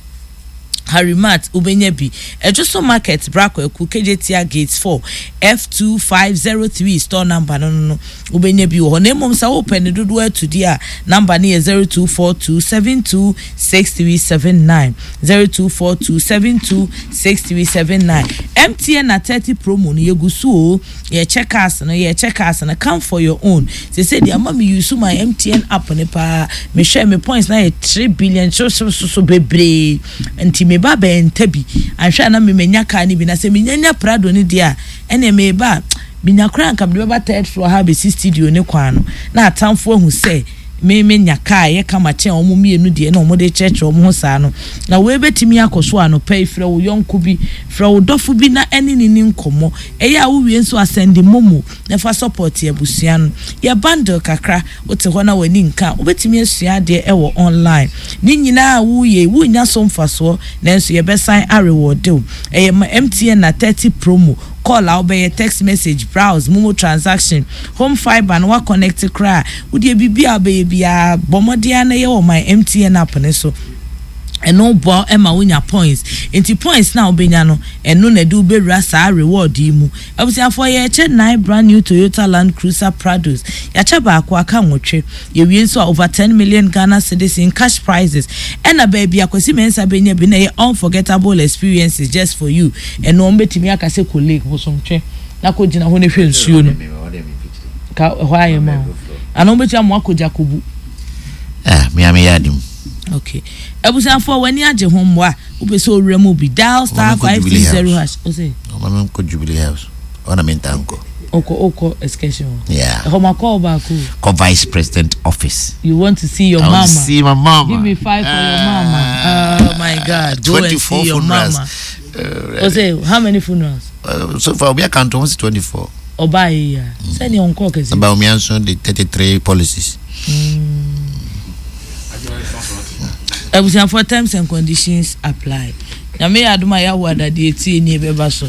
Harimat, wobɛnya bi. Ɛdwo Market, Brakwaku, Kejetia Gate four, F two five zero three store number no no no wobɛnya bi wɔ hɔ. Na mmom sɛ wopɛ ne dodoɔ atudi a, number no yɛ zero two four two seven two six three seven nine, zero two four two seven two six three seven nine. M T N na thirty promo no yɛgu so o. Yɛkyɛ cars no, yɛkyɛ cars no. Come for your own. Sɛ deɛ ama me use my M T N app ne paa, mehwɛ me points na yɛ three billion so so so so bebree, nti me ba bɛn nta bi ahwɛ a na me menya car no bi. Na sɛ menyanya Prado no deɛ a, ɛnna me ba menya koraa nka mede bɛba third floor ha bɛsi studio ne kwan no, na atamfo ahu sɛ me menya kaa yɛ kama kyɛn wɔn mmienu deɛ na wɔn de kyerɛkyerɛ wɔn ho saa no. Na wei bɛtumi akɔ so anɔpɛ yi. Frɛ wo yɔnko bi, frɛ wo dɔfo bi na ɛne ne ne nkɔmmɔ. Ɛyɛ a wowie nso, asend MoMo na fa support abusua no. Yɛ bundle kakra, wote hɔ na w'ani nka, wobɛtumi asua adeɛ ɛwɔ online ne nyinaa a woyɛ, wonya so mfasoɔ, nanso yɛbɛsan areward wo. Ɛyɛ ma M T N na thirty promo call a wobɛyɛ, text message, browse, MoMo transaction, home fibre no waconnect koraa, wodeɛ biribi a wobɛyɛ biara, bɔ mmɔden a na ɛyɛ wɔ my M T N app ne so. Ɛno boa ɛma wonya points, nti points na wobɛnya no, ɛno na ɛde wobɛwura saa reward yi mu. Abusuafoɔ, yɛkyɛ nine brand new Toyota Land Cruiser Prados. Yɛakyɛ baako, aka nwɔtwe. Yɛwie nso a, over ten million Ghana cedis in cash prizes. Ɛna baabi Akwasi Mɛnsa bɛnya bi na ɛyɛ unforgettable experiences just for you. Ɛno wɔn bɛtumi aka sɛ kɔ lake Bosomtwe na kɔ gyina hɔ na hwɛ nsuo no ka ɛhɔ ayɛ ma wo, ana wɔn bɛtumi ama akɔ Jakobu. Ah, mea meyɛ adim. Okay, abusuafoɔ, w'ani agye ho mmoa, wopɛ sɛ owura mu bi, dial star Ɔma menkɔ five Jubilee three zero House. hash ɔsɛ. Ɔma menkɔ Jubilee House, ɔna menta nkɔ. Ɔkɔ ɔkɔ excursion hɔ. Yeah. Ɛhɔ ma kɔɔ baako. Kɔ vice president office. You want to see your I mama. want to see my mama. Give me five for your mama. Oh my God, go and twenty-four see your funerals. mama. Uh, ɔsɛ how many funerals? uh, so far obi account ho si twenty-four. Ɔbaa yi ya sɛnea ɔnkɔɔ kɛse. About me nso de thirty-three policies. Abusuafoɔ, terms and conditions apply. Nyame yɛ adom a, yɛawo adadeɛ tie nie bɛba so.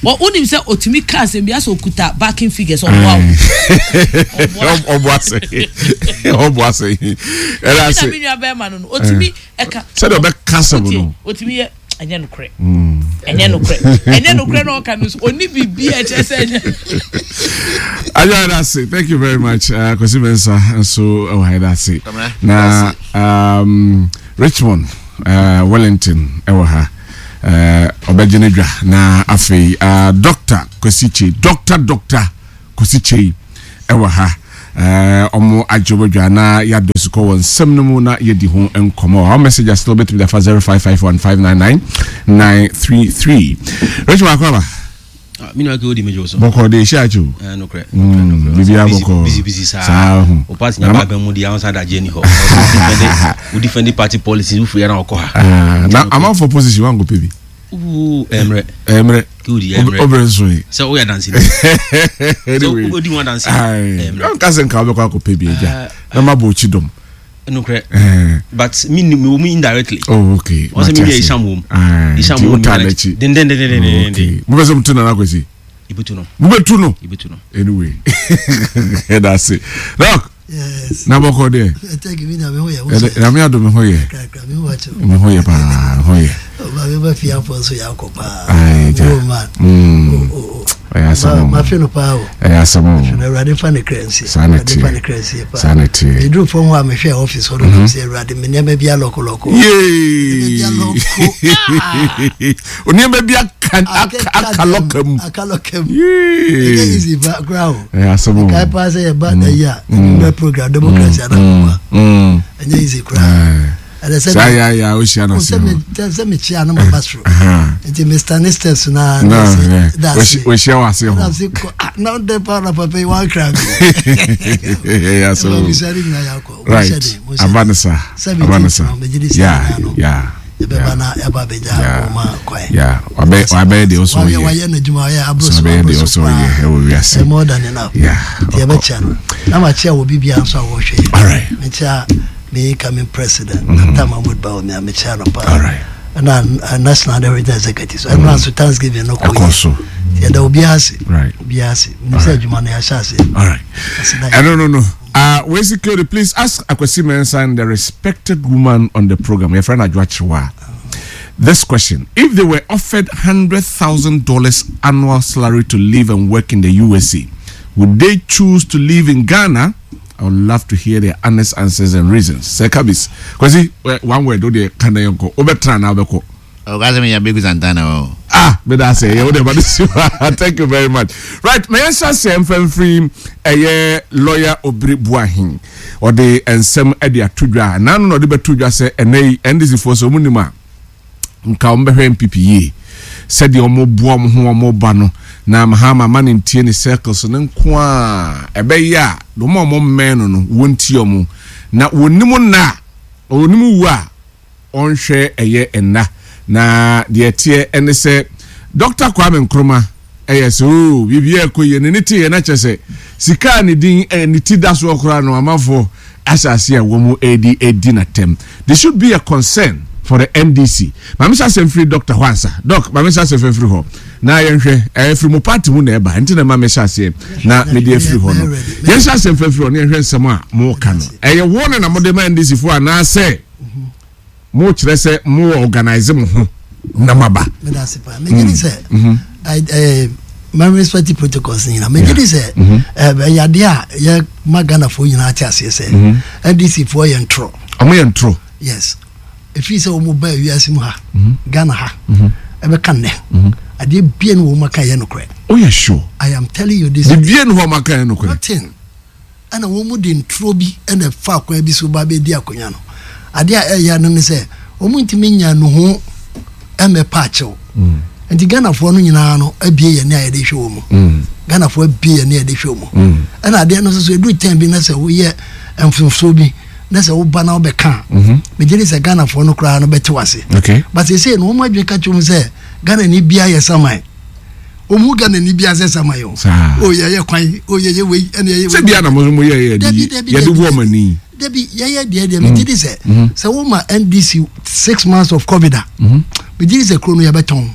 Wɔ wonim sɛ otumi ka asɛm bi asɛ okuta backing figures, ɔboa wo. Ɔboa sɛ ɔboa sɛ ɛda ɛna ase. Mi nua bɛrima no no otumi ɛka. Sɛdeɛ ɔbɛka asɛm Wotie, no. otumi yɛ ɛnyɛ nokorɛ, ɛnyɛ nokorɛ, ɛnyɛ nokorɛ na ɔka no so oni biribi a ɛkyerɛ sɛ ɛnyɛ. Ayo, ɛda ase, thank you very much. uh, Kwasi Mensa nso ɛwɔ ha, ɛda ase. Kwamina, Na um, Richmond uh, Wellington ɛwɔ ha, uh, ɔbɛgye ne dwa. Na afei uh, Doctor Kwasi Kyei, Doctor Doctor Kwasi Kyei ɛwɔ ha. uh, ɔmo agye ɔbɛdwa na yɛadɔ sukɔ wɔ nsɛm no mu na yɛdi ho nkɔmmɔ. Our message are still bɛtumi dafa zero five five one five nine nine nine three three. Richmond, akwaba. Mi nua ke o di mejo so. Bɔkɔ de ehyia akyi o. Eh, nokorɛ. Mm, biribiara bɔkɔ. Busy busy saa. Saa ho. O party Na nya ma- ba bɛn mu di àwọn sáà dajẹ ni hɔ. O defend party policy, o firi yẹn na ɔkɔ ha. Ah, na amanfo position wanko pɛ bi. Wuu, ɛmrɛ. Ɛmrɛ. Ke o di ɛmrɛ. Ɔbrɛ nso yi. Sɛ o yɛ dansi ni. Anyway. Sɛ o di wọn dansi. Ayi, Ɛmrɛ. nka sɛ nka wobɛkɔ akɔpɛ bi agya na mabɔ okyi dɔm. Nokorɛ. Eh, but mi ni mi wo mu indirectly. Oh, okay. Wɔn sɛ mi yɛ Isham wɔ mu. Isham Isham wɔ mu. wɔ mu n'akyi. Den den den den den Okay. den. Mobɛ sɛ motu Nana Kwasi. Ibutu no. Mobɛtu no. Ibutu no. Anyway, ɛda ase, Doc. Yes. Na bɔkɔ deɛ? Thank you, mi na mi ho yɛ. Ɛdɛ- Nyame adom, me ho yɛ. Kakra mi ho akyɛw. Me ho yɛ paa, me ho yɛ. Ɔba mi ba fi afɔ nso yɛ akɔ paa. Ayi, gya. Oh man. Mm. Oh oh oh. Ɛyɛ asɛm o. Ma fi no paa o. Ɛyɛ asɛm o. Fi no, Awurade fa ne kra nsie. Saa na Awurade fa teɛ. ne kra nsie paa. Saa na teɛ. Eduru fam hɔ a mehwɛ office hɔ no mm sɛ Awurade me nneɛma bi alɔkolɔko. Yee. Nneɛma Onneɛma bi aka aka aka lɔka mu. Aka lɔka mu. Ɛnyɛ Yee. easy ba koraa o. Ɛyɛ asɛm o. Kae paa sɛ yɛba ayi a ɛnumɛ program democracy anakɔpa. Mm. Ɛnyɛ easy koraa. Ɛɛ. Ɛdɛ sɛ Saa yɛ yɛ a ohyia na se sɛ ho. me sɛ mekyia no maba soro. Aha. Nti Mister ne steps na Na na ohyia wɔ ase ho. na se kɔ ah na ɔdɛ pa na papa yi wan kra mi. Ɛyɛ asɛm o. Ɛbɛ nyinaa yɛ akɔ. Right. Aba ne sa. Aba ne sa. Yeah, yeah. Yɛbɛba na yɛba abɛgya Yeah. ɔma kwan. Yeah. Wabɛ wabɛyɛ deɛ ɔsɔ Wayɛ yɛ. wayɛ n'adwuma, wayɛ aburo So so wabɛyɛ aburo deɛ so ɔsɔ yɛ paa. ɛwɔ wiase. Ɛyɛ more than enough. Yeah. Nti yɛbɛkyia no na makyia wɔ biribiara nso a wɔhwɛ yɛ. All right. Mekyia me incoming president, Doctor Mahmood Bawumia, mekyia no paa. All right. Ɛna uh, national and everything executive so ɛno nso Thanksgiving no kɔ Ɛkɔ so. Yɛda obiara ase. Right. Obiara ase. Menim sɛ adwuma no yɛahyɛ ase. All right. Ase na I don't know. No. Uh, we security, please ask Akwasi Mensah and the respected woman on the program, your friend Adwoa Kyerewaa, this question. If they were offered hundred thousand dollars annual salary to live and work in the U S A, would they choose to live in Ghana? I would love to hear their honest answers and reasons. Sir Kabis, Kwasi, eh, one word, oh, dear, can I go? Obetra na obeko. Ɔka sɛ menya Bɛgu Santana o. Ah, meda ase. Yɛ wode ba de. Thank you very much. Right, ma yɛnhyɛ aseɛ mfamfiri ɛyɛ lawyer Obiri Boahen. Ɔde nsɛm de ato dwa nano na ɔde bɛto dwa sɛ ɛnɛ yi N D C foɔ sɛ ɔmu nim a nka wɔn bɛhwɛ N P P yie sɛdeɛ wɔn boa wɔn ho wɔn ba no na Mahama ma ne ntie ne circles ne nko a ɛbɛyɛ a wɔn a wɔn mmɛn no no wɔntie wɔn na wɔnim nna a wɔnim wu a ɔnhwɛ ɛyɛ nna. Na deɛ teɛ ɛne sɛ Doctor Kwame Nkrumah ɛyɛ sɛ oo biribi ɛkɔ yie ne ne te yɛ na kyerɛ sɛ sika a ne din ɛ ne ti da soɔ koraa no, amanfoɔ ahyɛ ase a wɔn edi edi n'atɛm. There should be a concern for the N D C. Maame hyɛ asɛm firi Doctor hɔ ansa. Doc, maame hyɛ asɛm firi hɔ na yɛnhwɛ. Ɛyɛ firi mo party mu na ɛba nti na maame hyɛ aseɛ na mede afiri hɔ no. Yɛnhyɛ asɛm firi hɔ na yɛnhwɛ nsɛm a mo ka no. Ɛyɛ wɔn na mo de ma N D C foɔ anaasɛ mo kyerɛ sɛ mo wɔ organize mo ho na mo aba? Meda ase paa. Megye di sɛ I- eh, ma respect protocols nyinaa. Megye di sɛ eh, ɛyɛ adeɛ a yɛ ma Ghanafoɔ nyinaa te aseɛ sɛ N D C foɔ yɛ ntorɔ. Ɔmo yɛ ntorɔ. Yes, ɛfiri sɛ wɔn ba wiase mu ha, Ghana ha, ɛbɛka nnɛ adeɛ bie no wɔn aka yɛ nokorɛ. O yɛ sure? I am telling you this. Bibie no hɔ ɔmo aka yɛ nokorɛ? Nothing. Ɛna wɔn mu de nturo bi ɛna fa akwan bi so ba bɛdi akonnwa no. Adeɛ a ɛyɛ no ne sɛ wɔn ntumi nya no ho ɛmɛ pa akyɛw nti Ghanafoɔ no nyinaa no abie yɛn ne a yɛde hwɛ wɔn mu. Ghanafoɔ abie yɛn ne a yɛde hwɛ wɔn mu. Ɛna adeɛ no nso so edu tɛn bi na sɛ woyɛ mfomsoɔ bi na sɛ woba na wobɛka a, megye di sɛ Ghanafoɔ no koraa no bɛte wase. Okay but sese no wɔn adwene ka kyerɛ mu sɛ Ghana ni bia yɛ saman, wɔn mu Ghana ni bia sɛ saman o. Saa. O yɛ yɛ kwan o, yɛ yɛ wei, ɛna yɛ yɛ Sɛ bia na mo mo yɛ yɛ Dabi, de dabi, yɛde dabi. wɔ ɔmo ani. Dabi, yɛyɛ deɛ deɛ megye di sɛ sɛ woma N D C six months of COVID a, megye di sɛ kuro no yɛbɛtɔn.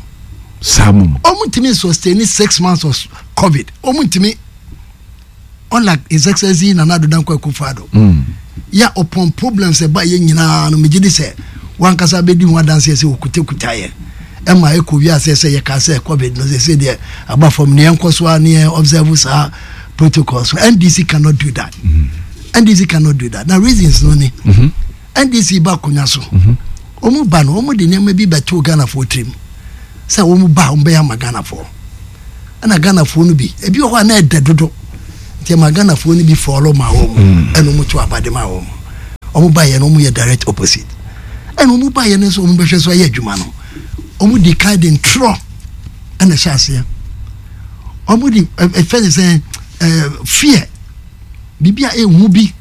Saa mom. Ɔmo ntumi sustain six months of COVID. Ɔmo ntumi, unlike His Excellency Nana Addo Dankwa Akufo-Addo Mm. yɛ upon problems ɛba yɛ nyinaa no, megye di sɛ wankasa bɛdi ho adanseɛ sɛ wɔkutakuta yɛ ɛma ɛkɔ wiase sɛ yɛka sɛ COVID no sɛ sɛ deɛ aba fam ne yɛnkɔ so a ne yɛn observe saa protocol. So N D C cannot do that. N D C cannot do that. Na reasons no ni: N D C ba akonnwa so, wɔn ba no, wɔn de nneɛma bi bɛto Ghanafoɔ tirim sɛ wɔn ba a, wɔn bɛyɛ ama Ghanafoɔ. Ɛna Ghanafoɔ no bi, ebi wɔ hɔ a na ɛdɛ dodo, nti ɛma Ghanafoɔ no bi fɔlɔ ma wɔn, ɛna wɔn to abade ma wɔn. Wɔn ba yɛ no, wɔn yɛ direct opposite. Ɛna wɔn ba yɛ no nso, wɔn bɛhwɛ so ayɛ adwuma no, wɔn di kan de ntorɔ ɛna ɛhyɛ aseɛ. Wɔn de ɛfɛ de sɛ ɛɛ fear, biribi a ehu bi,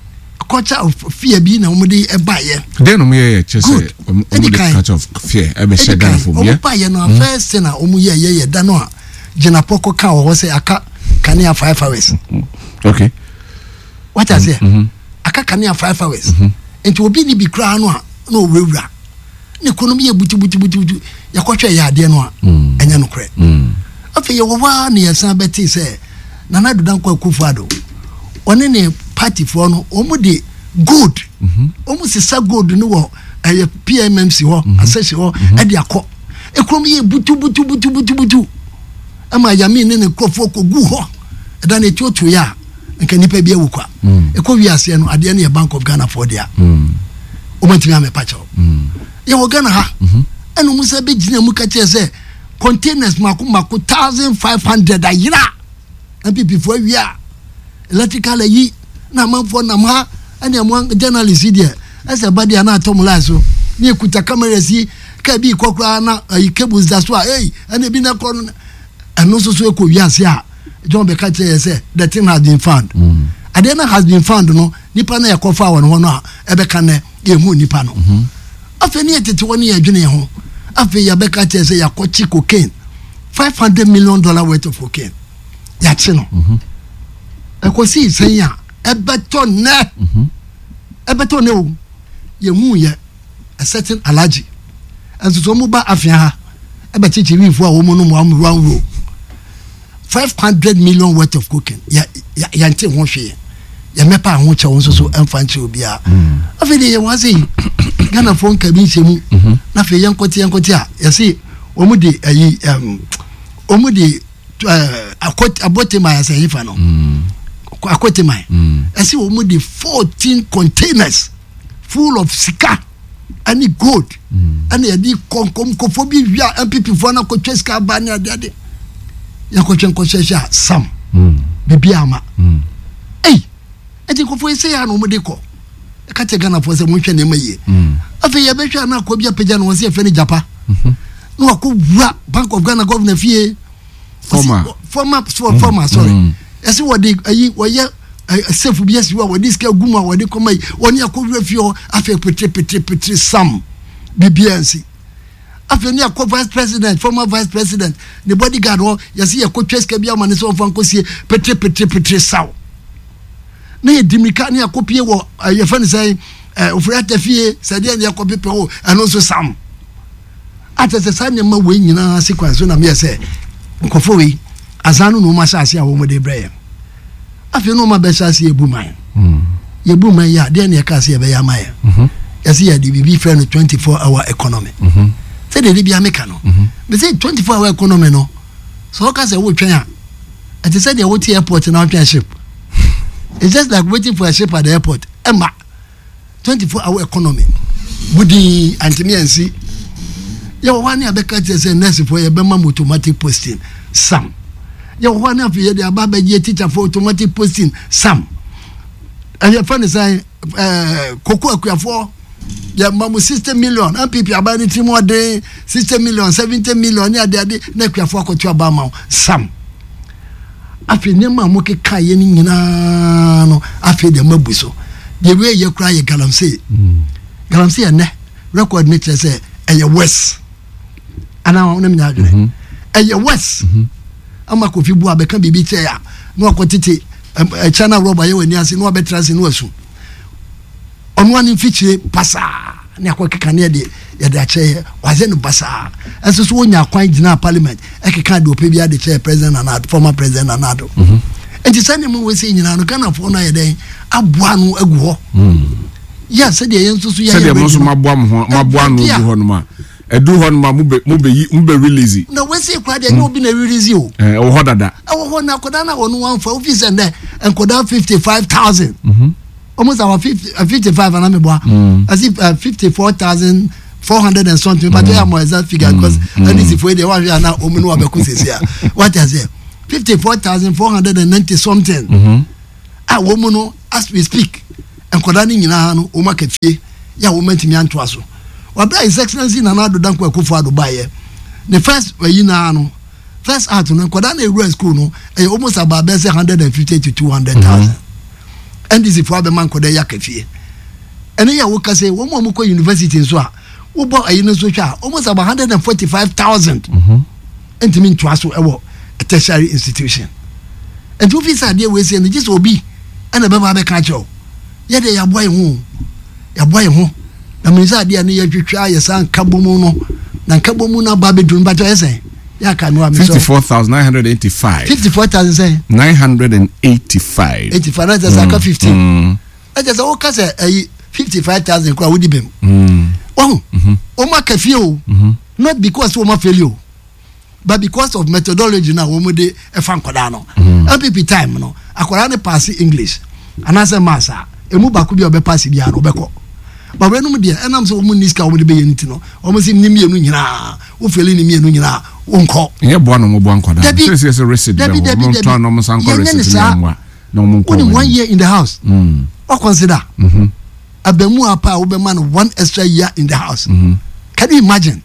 culture of fear bi na wɔn de ɛba yɛ. Dɛn na ɔmo yɛ yɛ kyerɛ sɛ Good. ɔmo Ɛdi ɔmo de kan. culture of fear ɛbɛhyɛ Ɛdi kan Ghana fo mu ɔmo yɛ? ba yɛ no, first thing a wɔn yɛ yɛ yɛ da no a Jinapor kɔ ka wɔ hɔ sɛ aka kanea five hours. Okay wate aseɛ? Aka kanea five hours, nti obi ni bi koraa no a na owurawura ne kuro no yɛ butubutubutu. Yɛkɔhwɛ yɛ adeɛ no a, ɛnyɛ nokorɛ. Afei yɛwɔ hɔ a ne yɛsan bɛtee sɛ Nana Addo Dankwa Akufo-Addo ɔne ne partyfoɔ no, wɔn de gold, wɔn sisa gold no wɔ ɛyɛ P M M C hɔ, asɛhyɛ hɔ, ɛde akɔ ekurom yɛ butubutubutubutu ɛma Yami ne ne nkurɔfoɔ kɔ gu hɔ. Ɛda no etuotuo yɛ a nka nipa bi awu kwa. Ɛkɔ wiaseɛ no, adeɛ no yɛ Bank of Ghana foɔ deɛ, wɔn ntumi amɛpa kyɛw. Yɛwɔ Ghana ha, ɛna wɔn sɛ bɛgyina mu ka kyerɛ sɛ containers mako mako thousand five hundred ayera, N P P foɔ awia electrical ayi na amanfoɔ nam ha. Ɛna ɛmo journalist yi deɛ, ɛsɛ ba deɛ ana atɔ mo line so ne ekuta cameras yi kaa bi kɔ koraa na ayi cables da so a, ei, ɛna ebi na kɔ no, ɛno nso so ekɔ wiase a John bɛka kyerɛ yɛ sɛ the thing has been found. Adeɛ no has been found no, nipa no yɛ kɔfa wɔ ne hɔ no a ɛbɛka nɛ yɛhu nipa no. Afei ne yɛ tete hɔ ne yɛ adwene yɛn ho. Afei yɛbɛka kyerɛ sɛ yɛakɔkye cocaine, five hundred million dollar worth of cocaine, yɛakye no. Ɛkɔsii sɛn a ɛbɛtɔ nnɛ? Ɛbɛtɔ nnɛ o, yɛhu yɛ a certain alhaji ɛnso so wɔn ba afia ha ɛbɛkyekye wiifoɔ a wɔn nom one one row, five hundred million worth of cocaine. Yɛ yɛ yɛnte ho hwee. Yɛmɛpa ho kyɛw nso so ɛmfa nkyerɛ obiara. Afei deɛ yɛwɔ ase yi, Ghanafoɔ nka bi nhyɛ mu. Na afei yɛnkɔte yɛnkɔte a yɛse wɔn de ɛyi ɛm wɔn de ɛɛ akɔt abɔteman asɛ yifa no, Akɔteman, ɛsɛ wɔn de fourteen containers full of sika ɛne gold ɛna yɛde kɔnkɔn nkɔfo bi wia N P P foɔ na kɔtwa sika aba ne adeade. Yɛkɔtwa nkɔhyɛhyɛ a sam bibi ama ɛyi. Ɛti nkɔfo yi sɛ yɛ a na wɔn de kɔ ɛka kyɛ Ghanafoɔ sɛ wɔnhwɛ nneɛma yie. Afei yɛbɛhwɛ a na akɔ bi apagya na wɔn sɛ yɛfɛ no Japa na wakɔ wura Bank of Ghana governor fie. Former. Former, former, sorry. Ɛsɛ wɔde ayi wɔyɛ ɛ safe bi asi hɔ a wɔde sika gu mu a wɔde kɔma yi, wɔne akɔ wura fie hɔ. Afei petre petre petre sam, biribiara nsi. Afei ne akɔ vice president, former vice president ne bodyguard hɔ, yɛsɛ yɛkɔtwa sika bi ama ne sɛ ɔmfa nkɔsie. Petre petre petre saw na yɛdi mirika ne akɔpie wɔ ɛ, yɛfɛ no sɛ ɛ Ofori Ata fie sɛdeɛ ne yɛkɔ pepɛ hɔ, ɛno nso sam. Atɛ sɛ saa nneɛma wei nyinaa sequence so na meyɛ sɛ nkɔfo wei asan no na wɔn ahyɛ ase a wɔn de brɛ yɛn. Afei na wɔn abɛhyɛ ase yɛbu man, yɛbu man yi a, deɛ ne yɛka ase yɛbɛyɛ ama yɛn, yɛsɛ yɛde biribi frɛ no twenty four hour economy. Sɛdeɛ de bia meka no, mɛ twenty four hour economy no, sɛ ɔka sɛ wotwɛn a, ɛte sɛ deɛ wote airport na wotwɛn ship. It's just like waiting for a ship at the airport. Ɛma twenty four hour economy budin antimi ansi. Yɛwɔ hɔ a ne abɛka kyerɛ sɛ nursefoɔ yɛbɛma mo automatic posting, sam. Yɛwɔ hɔ a ne afei yɛde aba abɛgye teacherfoɔ automatic posting, sam. Ɛyɛ fɛ ne sɛ ɛɛ koko akuafoɔ yɛma mo sixty million. N P P aban ne tirim ɔden, sixty million, seventy million ne adeade na akuafoɔ akɔto aba ama wo, sam. Afei nneɛma a mokeka yɛ no nyinaa no, afei deɛ mabu so deɛ wei yɛ koraa yɛ galamsey. Galamsey ɛnɛ record ne kyerɛ sɛ ɛyɛ worse anaa wɔn nyɛ adwene ɛyɛ worse ama Kofi bu abɛka biribi kyerɛ a na wakɔ tete ɛkyɛn na rɔba yɛ wɔ ani ase na wabɛtena ase na wasu ɔno ani mfikyire pasaa ne akɔ keka ne yɛde Yɛde akyerɛ yɛ, wayɛ no basaa. Ɛnso so wonya kwan gyina parliament ɛkeka deɛ ɔpɛ bi ade kyerɛ President Nana Addo, former President Nana Addo. Nti sɛ nneɛma wɔ sɛ nyinaa no, Ghanafoɔ no ayɛ dɛn aboa no agu hɔ yɛ sɛdeɛ yɛn nso so yɛayɛ Sɛdeɛ mo nso ready no. Maboa mo ho, maboa no Ɛbi a- gu hɔ nom a ɛduru hɔ nom a mobɛ mobɛyi, mobɛ release. Na wɔsi kura deɛ, ɛnyɛ obi na release o. Ɛɛ, ɛwɔ hɔ dada. Ɛwɔ hɔ na akwadaa na wɔn wɔn fa ofi sɛ ndɛ nkwadaa fifty five thousand, almost our fifty fifty five anam eboa as if fifty four thousand four hundred and something, but yɛ amɔ exact figure because N D C fo yi deɛ wahwɛ ana omu ni wabɛko sisi a wate ase fifty four thousand four hundred and ninety something a wɔn mu no, as we speak, nkwadaa no nyinaa no wɔn aka fie yɛ a wɔn ntumi antoa so. Wabere His Excellency Nana Addo Dankwa Akufo Addo baayɛ ne first ayi naa no, first act no, nkwadaa na ewura school no ɛyɛ almost about bɛyɛ sɛ hundred and fifty to two hundred thousand. N D C fo abɛma nkwadaa yi aka fie. Ɛne yɛ woka sɛ wɔn a wɔkɔ university nso a wobɔ ayi no nso hwɛ a, almost about hundred and forty five thousand ntumi ntoa so ɛwɔ tertiary institution. Nti wofi sɛ adeɛ wei sɛ no gye sɛ obi ɛna bɛba bɛka kyerɛw. Yɛde yɛaboa yɛn ho, yɛaboa yɛn ho na mene sɛ adeɛ a ne yɛtwitwa yɛ saa nka bɔ mu no na nka bɔ mu no aba bɛduru no bakyɛ yɛ sɛn yɛaka no a mesɛ Fifty four thousand nine hundred eighty five. Fifty four thousand sɛn? Nine hundred and eighty five. Eighty five na kyɛ sɛ aka fifteen. Ɛkyɛ sɛ woka sɛ ɛyi fifty five thousand koraa wodi bɛm. Wahu wɔn aka fie o, not because wɔn afail o, but because of methodology na wɔn de ɛfa nkwadaa no. N P P time no, akwadaa no pass English anaasɛ maths a, emu baako bi a ɔbɛ pass biara no ɔbɛkɔ, but wɔn deɛ, ɛnam sɛ wɔn ni sika wɔn de bɛyɛ ne ti no, wɔn si ne mmienu nyinaa wofail ne mmienu nyinaa wɔnkɔ. Ɛnyɛ boa na ɔmo boa nkwadaa. Dabi. Sɛ sɛ sɛ resit Dabi, bɛ hɔ dabi, ɔmo dabi. ntɔn na ɔmo san kɔ Yɛnyɛ ne resit ne saa. ɛmoa na ɔmo nkɔ Wone wɔn one anim. year in the house, Mm. wa consider abamu apa a wobɛma no one extra year in the house. Can you imagine?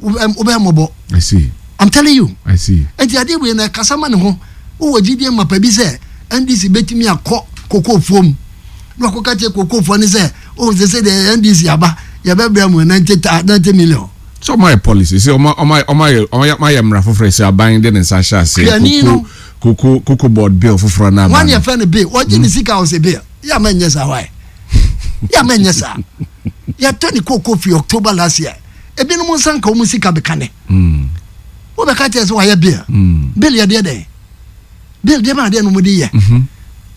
Wobɛ wobɛ mmɔbɔ. I see. I'm telling you. I see. Nti adeɛ wei na kasa ma ne ho, wowɔ gyidie mapa bi sɛ N D C bɛtumi akɔ kokofoɔ mu na wakɔka kyerɛ kokofoɔ ne sɛ o sɛ sɛ deɛ N D C aba, yɛbɛbrɛ mu ninety ninety million. Sɛ ɔmo ayɛ policy sɛ ɔmo ɔmo ayɛ ɔmo ayɛ ɔmo ayɛ ɔmo ayɛ mmara foforɔ sɛ aban de ne nsa ahyɛ ase. Kuani no. Cocoa cocoa board bill foforɔ na Wọn aba yɛ no. fɛ no bill, wɔgye ne sika a ɔsɛ bill yɛ ama nyɛ saa wae, yɛ ama nyɛ saa. Yɛtɔ ne koko firi October last year, ebinom nsa nka wɔn sika bɛka ne Mm. wobɛka kyerɛ sɛ wayɛ bill. Mm. Bill yɛ deɛ dɛn? Bill deɛ ma adeɛ no mo de yɛ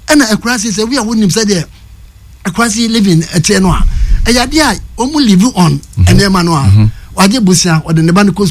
ɛna akura se sɛ wi a wonim sɛdeɛ akura se living ɛteɛ no a, ɛyɛ adeɛ a wɔn live on nneɛma no a wagye busia, ɔde ne ba no kɔ school.